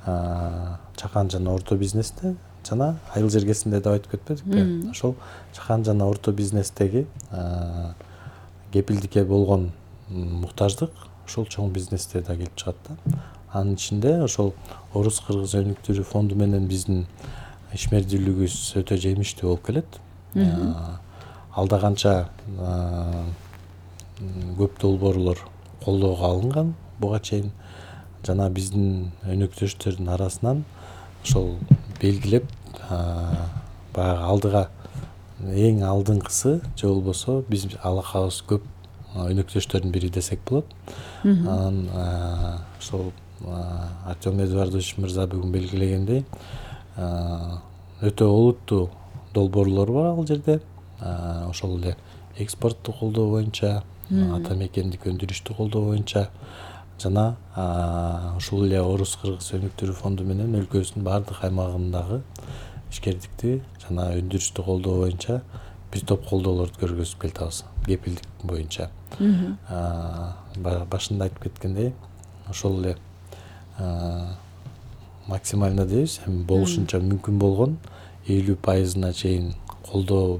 чакан жана орто бизнесте жана айыл жергесинде деп айтып кетпедикпи? Ошол чакан жана орто бизнестеги кепилдикке болгон муктаждык ушул чоң бизнесте да келип чыгат да. Анын ичинде ошол Орус-Кыргыз өнүктүрүү фонду менен биздин ишмердүүлүгүбүз өтө жемиштүү болуп келет. Алда канча көп долбоорлор колдоого алынган буга чейин жана биздин өнөктөштөрдүн арасынан ошол белгилеп баягы алдыга эң алдыңкысы же болбосо биз алакабыз көп өнөктөштөрдүн бири десек болот. Анан ошол Артем Эдуардович мырза бүгүн белгилегендей өтө олуттуу долбоорлор бар ал жерде. Ошол эле экспортту колдоо боюнча, ата мекендик өндүрүштү колдоо боюнча жана ушул эле Орус-Кыргыз өнүктүрүү фонду менен өлкөбүздүн баардык аймагындагы ишкердикти жана өндүрүштү колдоо боюнча бир топ колдоолорду көргөзүп келатабыз кепилдик боюнча. Башында айтып кеткендей, ошол эле максимально дейбиз, эми болушунча мүмкүн болгон элүү пайызына чейин колдоо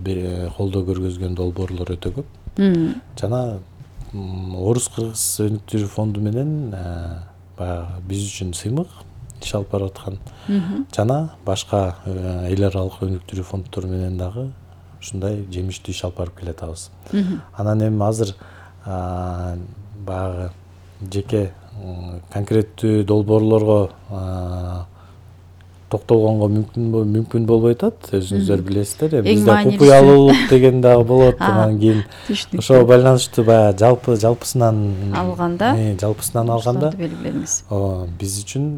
колдоо көргөзгөн долбоорлор өтө көп. Жана Орус-Кыргыз өнүктүрүү фонду менен баягы биз үчүн сыймык иш алып барып аткан жана башка эл аралык өнүктүрүү фонддор менен дагы ушундай жемиштүү иш алып барып келатабыз. Анан эми азыр баягы жеке конкреттүү долбоорлорго токтолгонго мүмкүн мүмкүн болбой атат. Өзүңүздөр билесиздер, бизде купуялуулук деген дагы болот. Анан кийин ошого байланыштуу баягы жалпы жалпысынан алганда, жалпысынан алганда белгиледиңиз. Ооба, биз үчүн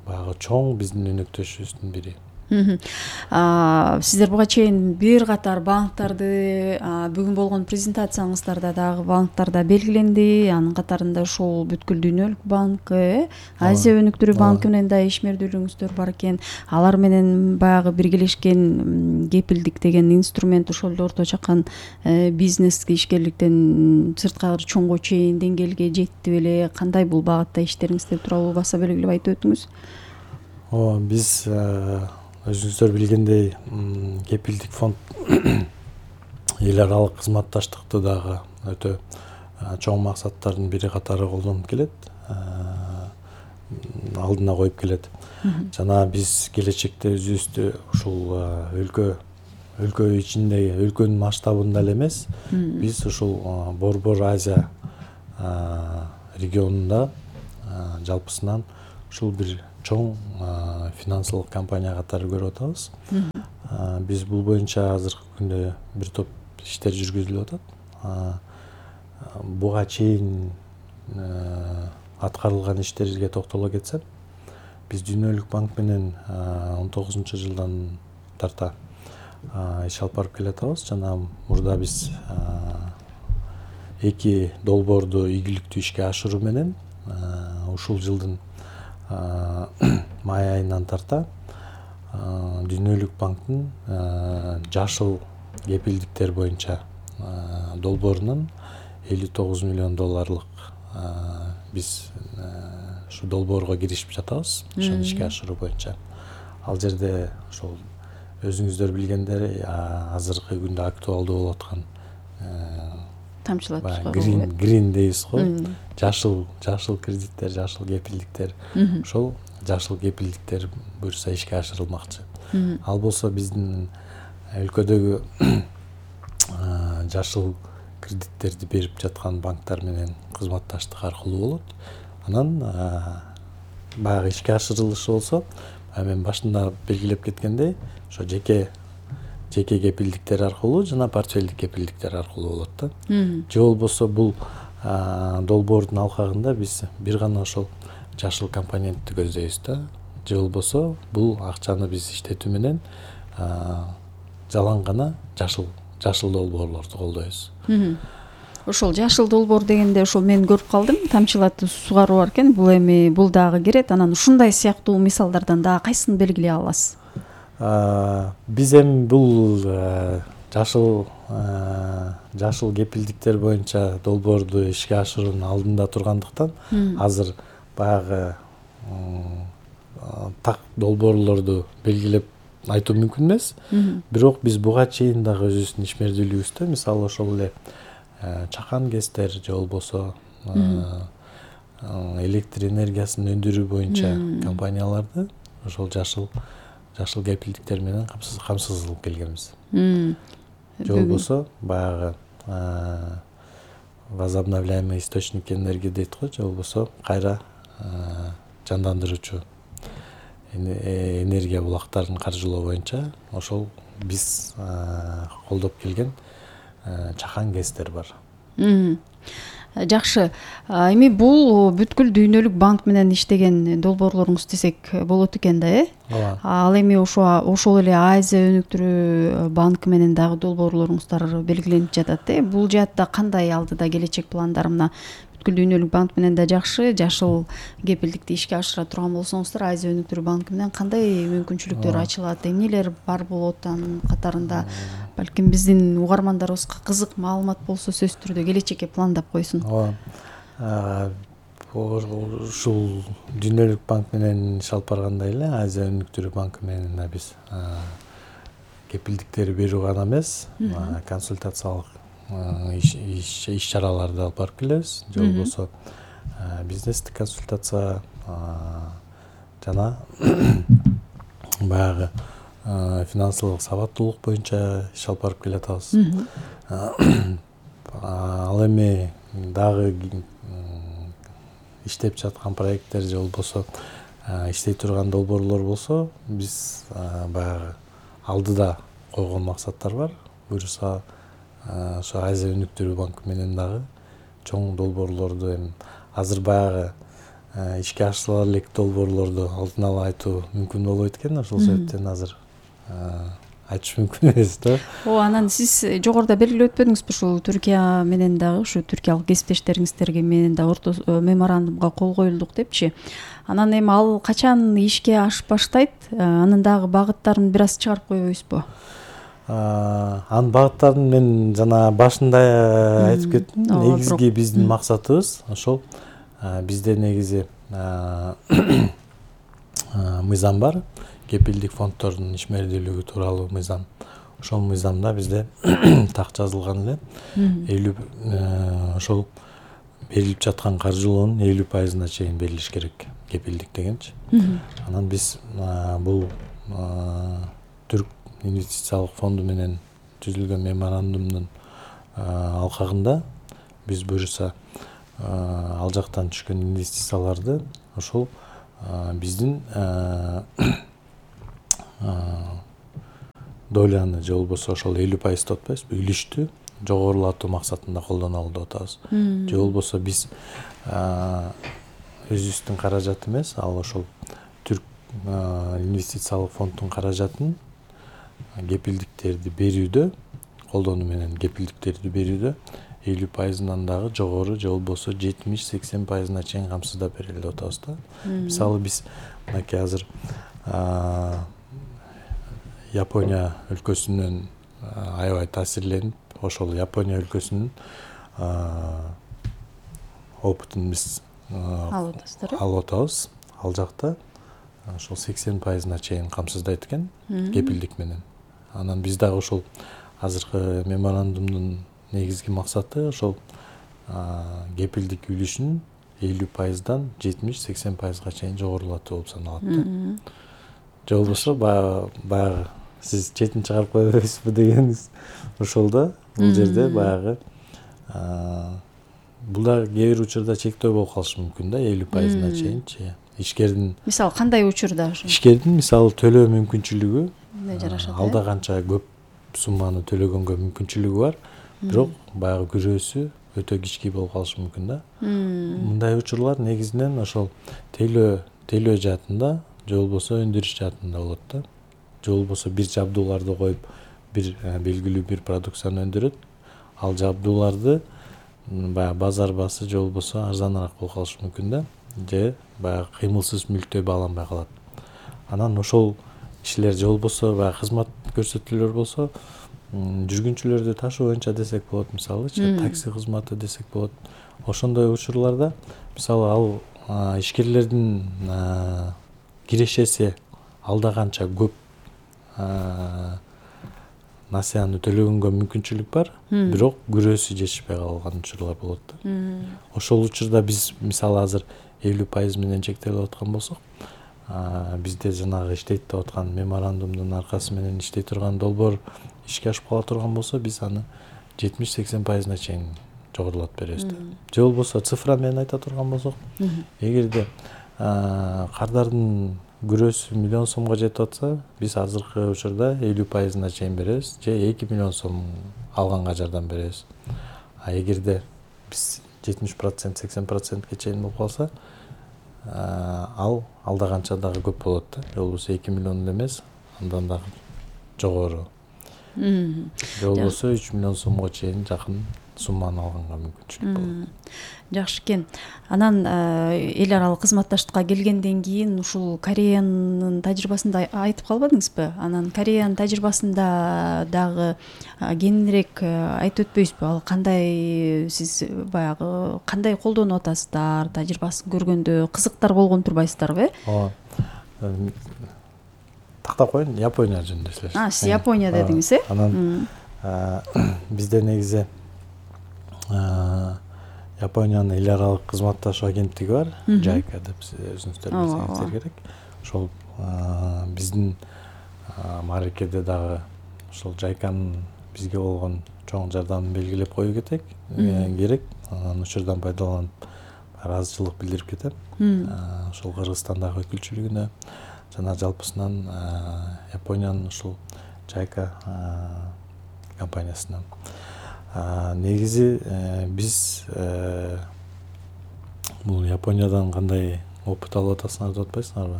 баягы чоң биздин өнөктөшүбүздүн бири. Сиздер буга чейин бир катар банктарды бүгүн болгон презентацияңыздарда дагы банктарда белгиленди. Анын катарында ушул бүткүл дүйнөлүк банк, Азия өнүктүрүү банкы менен да ишмердүүлүгүңүздөр бар экен. Алар менен баягы биргелешкен кепилдик деген инструмент ошол эле орто чакан бизнеске ишкерликтен сырткары чоңго чейин деңгээлге жетти беле? Кандай бул багытта иштериңиздер тууралуу баса белгилеп айтып өтүңүз. Ооба, биз өзүңүздөр билгендей кепилдик фонд эл аралык кызматташтыкты дагы өтө чоң максаттардын бири катары колдонуп келет, алдына коюп келет. Жана биз келечекте өзүбүздү ушул өлкө өлкө ичинде, өлкөнүн масштабында эле эмес, биз ушул Борбор Азия регионунда жалпысынан ушул бир чоң финансылык компания катары көрүп атабыз. Биз бул боюнча азыркы күндө бир топ иштер жүргүзүлүп атат. Буга чейин аткарылган иштерге токтоло кетсем, биз Дүйнөлүк банк менен он тогузунчу жылдан тарта иш алып барып келатабыз. Жана мурда биз эки долбоорду ийгиликтүү ишке ашыруу менен ушул жылдын май айынан тарта Дүйнөлүк банктын жашыл кепилдиктер боюнча долбоорунан элүү тогуз миллион долларлык биз ушу долбоорго киришип жатабыз, ошону ишке ашыруу боюнча. Ал жерде ошол өзүңүздөр билгендер азыркы күндө актуалдуу болуп аткан тамчылатып грин грин дейбиз го, жашыл жашыл кредиттер, жашыл кепилдиктер. Ошол жашыл кепилдиктер буюрса ишке ашырылмакчы. Ал болсо биздин өлкөдөгү жашыл кредиттерди берип жаткан банктар менен кызматташтык аркылуу болот. Анан баягы ишке ашырылышы болсо, мен башында белгилеп кеткендей, ошо жеке жеке кепилдиктер аркылуу жана портфелдик кепилдиктер аркылуу болот да. Же болбосо бул долбоордун алкагында биз бир гана ошол жашыл компонентти көздөйбүз да. Же болбосо бул акчаны биз иштетүү менен жалаң гана жашыл жашыл долбоорлорду колдойбуз. Ошол жашыл долбоор дегенде ошол мен көрүп калдым, тамчылатып сугаруу бар экен. Бул эми бул дагы кирет. Анан ушундай сыяктуу мисалдардан дагы кайсын белгилей аласыз? Биз эми бул жашыл жашыл кепилдиктер боюнча долбоорду ишке ашыруунун алдында тургандыктан азыр баягы так долбоорлорду белгилеп айтуу мүмкүн эмес. Бирок биз буга чейин дагы өзүбүздүн ишмердүүлүгүбүздө, мисалы ошол эле чакан гэстер же болбосо электр энергиясын өндүрүү боюнча компанияларды ошол жашыл жашыл кепилдиктер менен камсыз кылып келгенбиз. Же болбосо баягы возобновляемый источник энергии дейт го, же болбосо кайра жандандыруучу энергия булактарын каржылоо боюнча ошол биз колдоп келген чакан гэстер бар. Жакшы. Эми бул бүткүл Дүйнөлүк банк менен иштеген долбоорлоруңуз десек болот экен да, э? Ал эми ошо ошол эле Азия өнүктүрүү банкы менен дагы долбоорлоруңуздар белгиленип жатат, э? Бул жаатта кандай алдыда келечек пландар? Мына бүткүл Дүйнөлүк банк менен да жакшы, жашыл кепилдикти ишке ашыра турган болсоңуздар, Азия өнүктүрүү банкы менен кандай мүмкүнчүлүктөр ачылат, эмнелер бар болот анын катарында? Балким биздин угармандарыбызга кызык маалымат болсо сөзсүз түрдө келечекке пландап койсун. Ооба. Ушул Дүйнөлүк банк менен иш алып баргандай эле Азия өнүктүрүү банкы менен да биз кепилдиктер берүү гана эмес, консультациялык иш чараларды алып барып келебиз. Же болбосо бизнестик консультация жана баягы финансылык сабаттуулук боюнча иш алып барып келатабыз. Ал эми дагы иштеп жаткан проекттер же болбосо иштей турган долбоорлор болсо, биз баягы алдыда койгон максаттар бар. Буюрса ошо Азия өнүктүрүү банкы менен дагы чоң долбоорлорду эми азыр баягы ишке ашырыла элек долбоорлорду алдын ала айтуу мүмкүн болбойт экен. Ошол себептен азыр айтыш мүмкүн эмес да. О, анан сиз жогоруда белгилеп өтпөдүңүзбү ушул Түркия менен дагы, ушу түркиялык кесиптештериңиздерге менен да орто меморандумга кол коюлдук депчи. Анан эми ал качан ишке ашып баштайт? Анын дагы багыттарын бир аз чыгарып койбойсузбу? Анын багыттарын мен жана башында айтып кеттим. Негизги биздин максатыбыз ошол. Бизде негизи мыйзам бар. Кепилдик фонддордун ишмердүүлүгү тууралуу мыйзам. Ошол мыйзамда бизде так жазылган эле элүү ошол берилип жаткан каржылоонун элүү пайызына чейин берилиш керек кепилдик дегенчи. Анан биз бул түрк инвестициялык фонду менен түзүлгөн меморандумдун алкагында биз буюрса ал жактан түшкөн инвестицияларды ошол биздин доляны же болбосо ошол элүү пайыз деп атпайбызбы, үлүштү жогорулатуу максатында колдонолу деп атабыз. Же болбосо биз өзүбүздүн каражат эмес, ал ошол түрк инвестициялык фонддун каражатын кепилдиктерди берүүдө, колдонуу менен кепилдиктерди берүүдө элүү пайызынан дагы жогору же болбосо жетимиш сексен пайызына чейин камсыздап берели деп атабыз да. Мисалы биз мынакей азыр Япония өлкөсүнөн аябай таасирленип, ошол Япония өлкөсүнүн опытын биз алып атабыз. Ал жакта ошол сексен пайызына чейин камсыздайт экен кепилдик менен. Анан биз дагы ошол азыркы меморандумдун негизги максаты ошол кепилдик үлүшүн элүү пайыздан жетимиш сексен пайызга чейин жогорулатуу болуп саналат да. Же болбосо баягы сиз четин чыгарып кое бересизби дегениңиз ошол да. Бул жерде баягы бул да кээ бир учурда чектөө болуп калышы мүмкүн да, элүү пайызына чейинчи. Ишкердин мисалы кандай учурда ошо? Ишкердин мисалы төлөө мүмкүнчүлүгү жарашат. Алда канча көп сумманы төлөгөнгө мүмкүнчүлүгү бар, бирок баягы күрөөсү өтө кички болуп калышы мүмкүн да. Мындай учурлар негизинен ошол тейлөө тейлөө жаатында же болбосо өндүрүш жаатында болот да. Же болбосо бир жабдууларды коюп, бир белгилүү бир продукцияны өндүрөт. Ал жабдууларды баягы базар баасы же болбосо арзаныраак болуп калышы мүмкүн да. Же баягы кыймылсыз мүлктөй бааланбай калат. Анан ошол ишилер же болбосо баягы кызмат көрсөтүүлөр болсо, жүргүнчүлөрдү ташуу боюнча десек болот, мисалычы такси кызматы десек болот. Ошондой учурларда мисалы ал ишкерлердин кирешеси алда канча көп насыяны төлөгөнгө мүмкүнчүлүк бар, бирок күрөөсү жетишпей калган учурлар болот да. Ошол учурда биз мисалы азыр элүү пайыз менен чектелип аткан болсок, бизде жанагы иштейт деп аткан меморандумдун аркасы менен иштей турган долбоор ишке ашып кала турган болсо, биз аны жетимиш сексен пайызына чейин жогорулатып беребиз да. Же болбосо цифра менен айта турган болсок, эгерде кардардын күрөөсү миллион сомго жетип атса, биз азыркы учурда элүү пайызына чейин беребиз же эки миллион сом алганга жардам беребиз. А эгерде биз жетимиш процент сексен процентке чейин болуп калса, ал алда канча дагы көп болот да. Же болбосо эки миллион эмес, андан дагы жогору. Же болбосо үч миллион сомго чейин жакын сумманы алганга мүмкүнчүлүк болот. Жакшы экен. Анан эл аралык кызматташтыкка келгенден кийин ушул Кореянын тажрыйбасында айтып калбадыңызбы? Анан Кореянын тажрыйбасында дагы кеңирээк айтып өтпөйсүзбү? Ал кандай, сиз баягы кандай колдонуп атасыздар? Тажрыйбасын көргөндө кызыктар болгон турбайсыздарбы? Ооба. Тактап коеюн, Япония жөнүндө сүйлөшөт. А, сиз Япония дедиңиз, э? Анан бизде негизи Япониянын эл аралык кызматташуу агенттиги бар, Жайка деп өзүңүздөр билсеңиздер керек. Ошол биздин мааракеде дагы ошол Жайканын бизге болгон чоң жардамын белгилеп коюу керек. Анан учурдан пайдаланып ыраазычылык билдирип кетем. Ошол Кыргызстандагы өкүлчүлүгүнө жана жалпысынан Япониянын ушул Жайка компаниясына. Негизи биз бул Япониядан кандай опыт алып атасыңар деп атпайсыңарбы?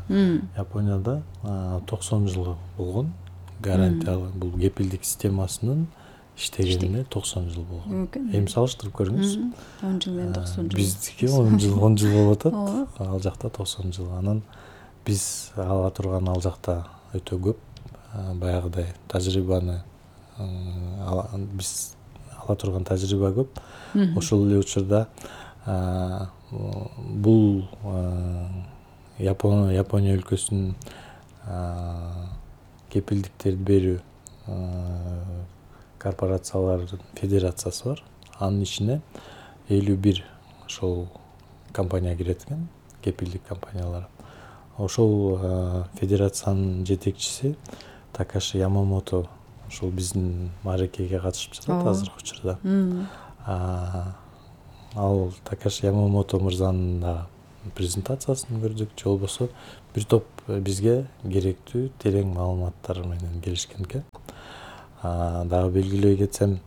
Японияда токсон жыл болгон гарантиялуу бул кепилдик системасынын иштегенине токсон жыл болгон. Эми салыштырып көрүңүз. он жыл менен токсон жыл. Биздики он жыл он жыл болуп атат. Ал жакта токсон жыл. Анан биз ала турган ал жакта өтө көп баягыдай тажрыйбаны биз ала турган тажрыйба көп. Ошол эле учурда бул Япония Япония өлкөсүнүн кепилдиктерди берүү корпорациялардын федерациясы бар. Анын ичине элүү бир ошол компания кирет экен, кепилдик компаниялар. Ошол федерациянын жетекчиси Такаши Ямамото ушул биздин мааракеге катышып жатат азыркы учурда. Ал Такаши Ямамото мырзанын да презентациясын көрдүк, же болбосо бир топ бизге керектүү терең маалыматтар менен келишкен экен. Дагы белгилей кетсем,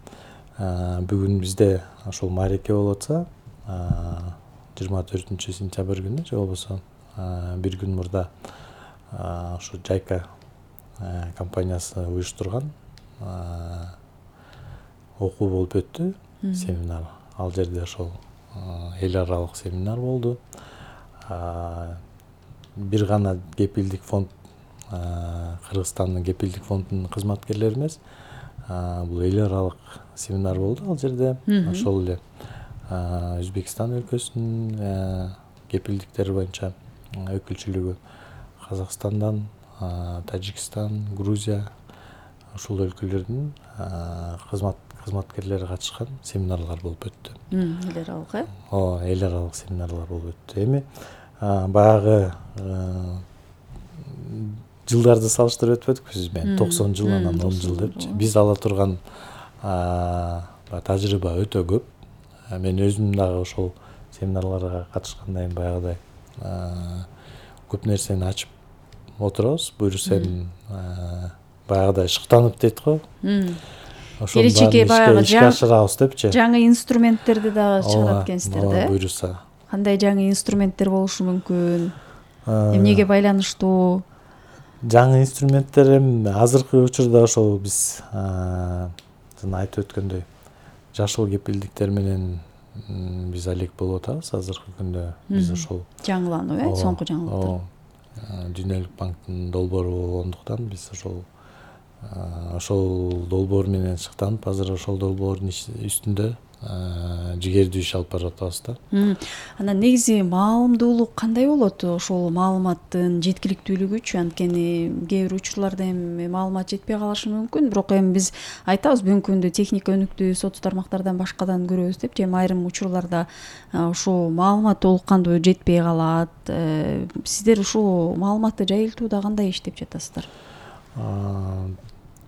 бүгүн бизде ошол маареке болуп атса, жыйырма төртүнчү сентябрь күнү же болбосо бир күн мурда ушу Жайка компаниясы уюштурган окуу болуп өттү, семинар. Ал жерде ошол эл аралык семинар болду. Бир гана кепилдик фонд, Кыргызстандын кепилдик фондунун кызматкерлери эмес, бул эл аралык семинар болду ал жерде. Ошол эле Өзбекстан өлкөсүнүн кепилдиктери боюнча өкүлчүлүгү, Казакстандан, Тажикстан, Грузия ушул өлкөлөрдүн кызмат кызматкерлери катышкан семинарлар болуп өттү. Эл аралык, э? Ооба, эл аралык семинарлар болуп өттү. Эми баягы жылдарды салыштырып өтпөдүкпү сиз менен? токсон жыл, анан он жыл депчи. Биз ала турган тажрыйба өтө көп. Мен өзүм дагы ошол семинарларга катышкандан кийин баягыдай көп нерсени ачып отурабыз. Буюрса эми баягыдай шыктанып дейт го. Келечекке баягы ишке ашырабыз депчи. Жаңы инструменттерди дагы чыгарат экенсиздер да? Буюрса. Кандай жаңы инструменттер болушу мүмкүн? Эмнеге байланыштуу? Жаңы инструменттер эми азыркы учурда ошол биз жана айтып өткөндөй жашыл кепилдиктер менен биз алек болуп атабыз азыркы күндө. Биз ошол жаңылануу, э, соңку жаңылыктар. Дүйнөлүк банктын долбоору болгондуктан биз ошол ошол долбоор менен шыктанып, азыр ошол долбоордун үстүндө жигердүү иш алып барып атабыз да. Анан негизи маалымдуулук кандай болот ошол маалыматтын жеткиликтүүлүгүчү? Анткени кээ бир учурларда эми маалымат жетпей калышы мүмкүн, бирок эми биз айтабыз бүгүнкү күндө техника өнүктү, соц тармактардан башкадан көрөбүз депчи. Эми айрым учурларда ушул маалымат толук кандуу жетпей калат. Сиздер ушул маалыматты жайылтууда кандай иштеп жатасыздар?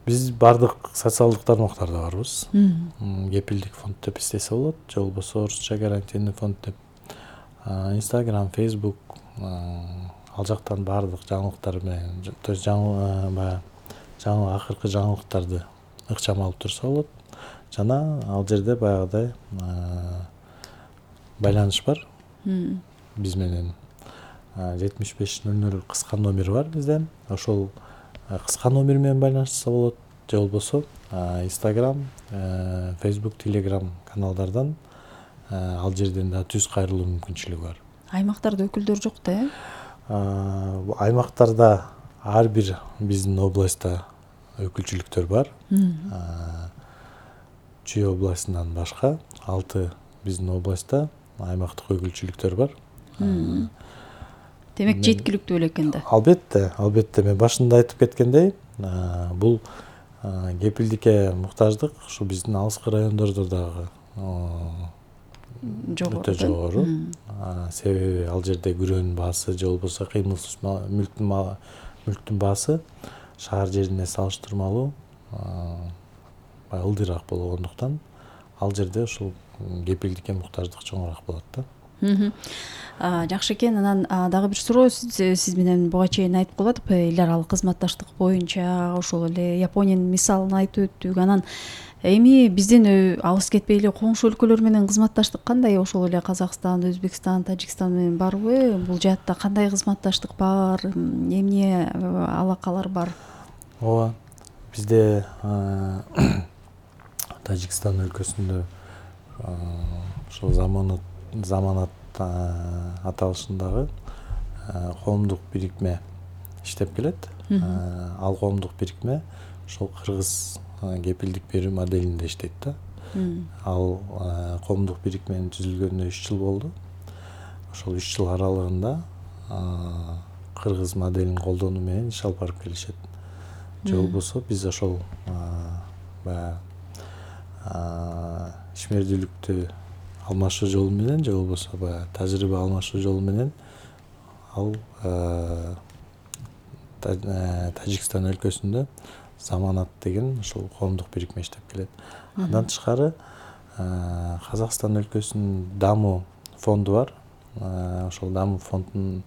Биз бардык социалдык тармактарда барбыз. Кепилдик фонд деп издесе болот, же болбосо орусча гарантийный фонд деп. Instagram, Facebook, ал жактан бардык жаңылыктар менен, то есть жаңы баягы жаңы акыркы жаңылыктарды ыкчам алып турса болот. Жана ал жерде баягыдай байланыш бар. Биз менен жетимиш беш нөл нөл кыска номер бар бизде. Ошол кыска номер менен байланышса болот, же болбосо Instagram, Facebook, Telegram каналдардан ал жерден да түз кайрылуу мүмкүнчүлүгү бар. Аймактарда өкүлдөр жок да, э? Аймактарда ар бир биздин областта өкүлчүлүктөр бар. Чүй областынан башка алты биздин областта аймактык өкүлчүлүктөр бар. Демек жеткиликтүү эле экен да. Албетте, албетте. Мен башында айтып кеткендей, бул кепилдикке муктаждык ушу биздин алыскы райондордо дагы өтө жогору. Себеби ал жерде күрөөнүн баасы же болбосо кыймылсыз мүлктүн баасы шаар жерине салыштырмалуу ылдыйраак болгондуктан ал жерде ушул кепилдикке муктаждык чоңураак болот да. Жакшы экен. Анан дагы бир суроо сиз менен буга чейин айтып калат, эл аралык кызматташтык боюнча ошол эле Япониянын мисалын айтып өттүк. Анан эми биздин алыс кетпей эле коңшу өлкөлөр менен кызматташтык кандай? Ошол эле Казакстан, Өзбекстан, Тажикстан менен барбы? Бул жаатта кандай кызматташтык бар? Эмне алакалар бар? Ооба, бизде Тажикстан өлкөсүндө ошол заманат заманат аталышындагы коомдук бирикме иштеп келет. Ал коомдук бирикме ошол кыргыз кепилдик берүү моделинде иштейт да. Ал коомдук бирикменин түзүлгөнүнө үч жыл болду. Ошол үч жыл аралыгында кыргыз моделин колдонуу менен иш алып барып келишет. Же болбосо биз ошол баягы ишмердүүлүктү алмашуу жолу менен же болбосо баягы тажрыйба алмашуу жолу менен ал Тажикстан өлкөсүндө Заманат деген ушул коомдук бирикме иштеп келет. Андан тышкары Казакстан өлкөсүнүн дамуу фонду бар. Ошол дамуу фондунун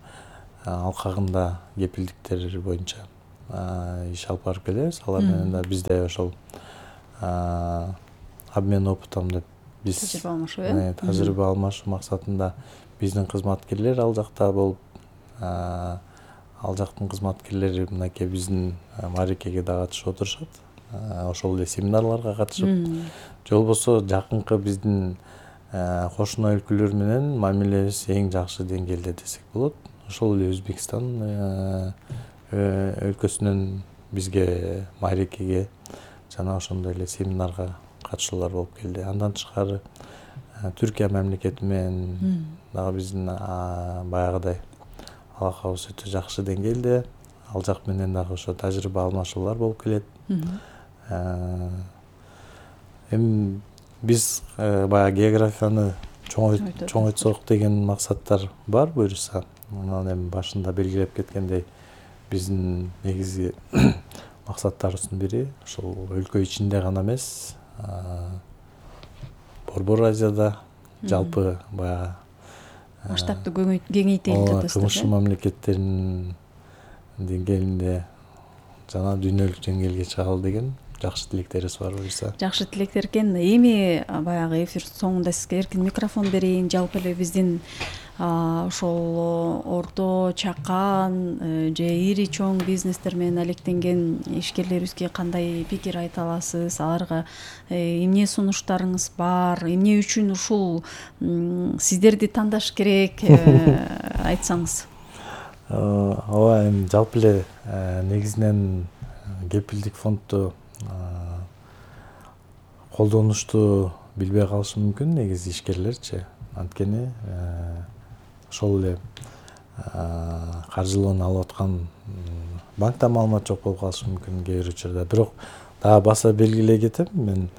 алкагында кепилдиктер боюнча иш алып барып келебиз. Алар менен да бизде ошол обмен опытом деп биз тажрыйба алмашуу э тажрыйба алмашуу максатында биздин кызматкерлер ал жакта болуп, ал жактын кызматкерлери мынакей биздин маарекеге да катышып отурушат. Ошол эле семинарларга катышып, же болбосо жакынкы биздин кошуна өлкөлөр менен мамилебиз эң жакшы деңгээлде десек болот. Ошол эле Өзбекстан өлкөсүнөн бизге маарекеге жана ошондой эле семинарга катышуулар болуп келди. Андан тышкары Түркия мамлекети менен дагы биздин баягыдай алакабыз өтө жакшы деңгээлде. Ал жак менен дагы ошо тажрыйба алмашуулар болуп келет. Эми биз баягы географияны чоңойтсок деген максаттар бар буюрса. Анан эми башында белгилеп кеткендей биздин негизги максаттарыбыздын бири ошол өлкө ичинде гана эмес, Борбор Азияда жалпы баягы масштабты кеңейтели деп атасыздар. Кымшы мамлекеттеринин деңгээлинде жана дүйнөлүк деңгээлге чыгалы деген жакшы тилектерибиз бар буюрса. Жакшы тилектер экен. Эми баягы эфир соңунда сизге эркин микрофон берейин. Жалпы эле биздин ошол орто, чакан же ири чоң бизнестер менен алектенген ишкерлерибизге кандай пикир айта аласыз? Аларга эмне сунуштарыңыз бар? Эмне үчүн ушул сиздерди тандаш керек айтсаңыз? Ооба, эми жалпы эле негизинен кепилдик фондду колдонушту билбей калышы мүмкүн негизи ишкерлерчи. Анткени ошол эле каржылоону алып аткан банкта маалымат жок болуп калышы мүмкүн кээ бир учурда. Бирок дагы баса белгилей кетем, мен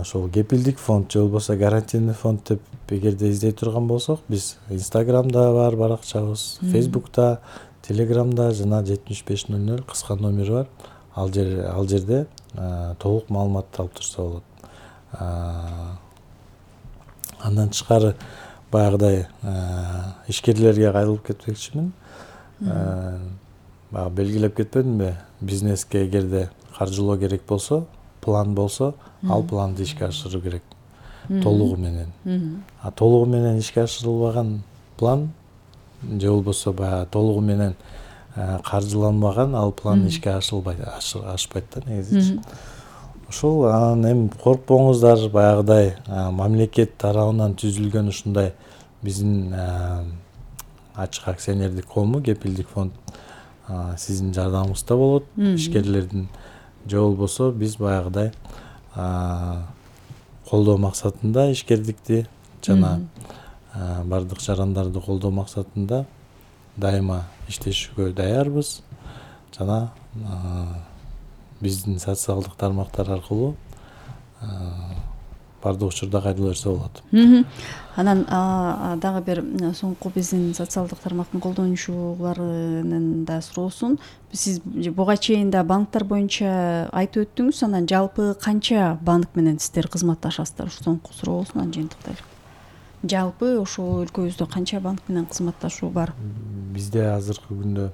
ошол кепилдик фонд же болбосо гарантийный фонд деп эгерде издей турган болсок, биз Инстаграмда бар баракчабыз, Фейсбукта, Телеграмда жана жетимиш беш ноль ноль кыска номери бар. Ал жер ал жерде толук маалыматты алып турса болот. Андан тышкары баягыдай ишкерлерге кайрылып кетмекчимин. Баягы белгилеп кетпедимби? Бизнеске эгерде каржылоо керек болсо, план болсо, ал планды ишке ашыруу керек. Толугу менен. А толугу менен ишке ашырылбаган план же болбосо баягы толугу менен каржыланбаган ал план ишке ашылбайт, ашпайт да негизи. Ошол анан эми коркпоңуздар, баягыдай мамлекет тарабынан түзүлгөн ушундай биздин ачык акционердик коому, кепилдик фонд сиздин жардамыңызда болот. Ишкерлердин же болбосо биз баягыдай колдоо максатында ишкердикти жана бардык жарандарды колдоо максатында дайыма иштешүүгө даярбыз. Жана биздин социалдык тармактар аркылуу бардык учурда кайрыла берсе болот. Анан дагы бир соңку биздин социалдык тармактын колдонуучуларынын да суроосун сиз буга чейин да банктар боюнча айтып өттүңүз. Анан жалпы канча банк менен сиздер кызматташасыздар? Ушу соңку суроосун анан жыйынтыктайлы. Жалпы ошол өлкөбүздө канча банк менен кызматташуу бар? Бизде азыркы күндө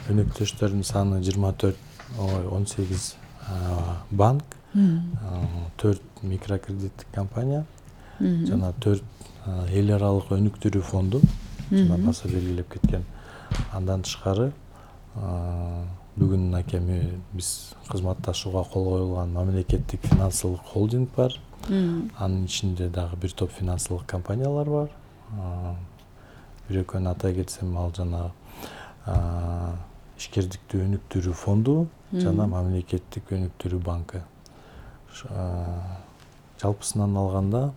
өнөктөштөрдүн саны жыйырма төрт, он сегиз банк, төрт микрокредиттик компания жана төрт эл аралык өнүктүрүү фонду жана баса белгилеп кеткен. Андан тышкары бүгүн мынакей биз кызматташууга кол коюлган мамлекеттик финансылык холдинг бар. Анын ичинде дагы бир топ финансылык компаниялар бар. Бир экөөнү атай кетсем, ал жана ишкердикти өнүктүрүү фонду жана мамлекеттик өнүктүрүү банкы. Жалпысынан алганда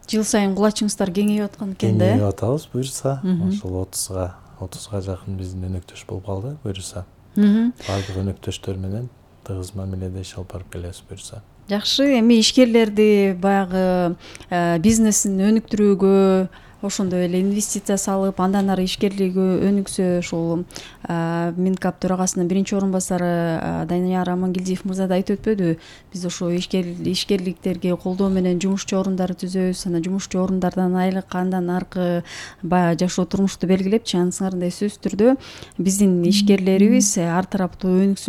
жыл сайын кулачыңыздар кеңейип аткан экен да? Кеңейип атабыз буюрса. Ошол отузга отузга жакын биздин өнөктөш болуп калды буюрса. Бардык өнөктөштөр менен тыгыз мамиледе иш алып барып келебиз буюрса. Жакшы. Эми ишкерлерди баягы бизнесин өнүктүрүүгө ошондой эле инвестиция салып андан ары ишкерлиги өнүксө, ушул Минкап төрагасынын биринчи орун басары Данияр Амангелдиев мырза да айтып өтпөдүбү, биз ошо ишкерликтерге колдоо менен жумушчу орундарды түзөбүз, анан жумушчу орундардан айлык, андан аркы баягы жашоо турмушту белгилепчи. Анысыңар мындай сөзсүз түрдө биздин ишкерлерибиз ар тараптуу өнүксүн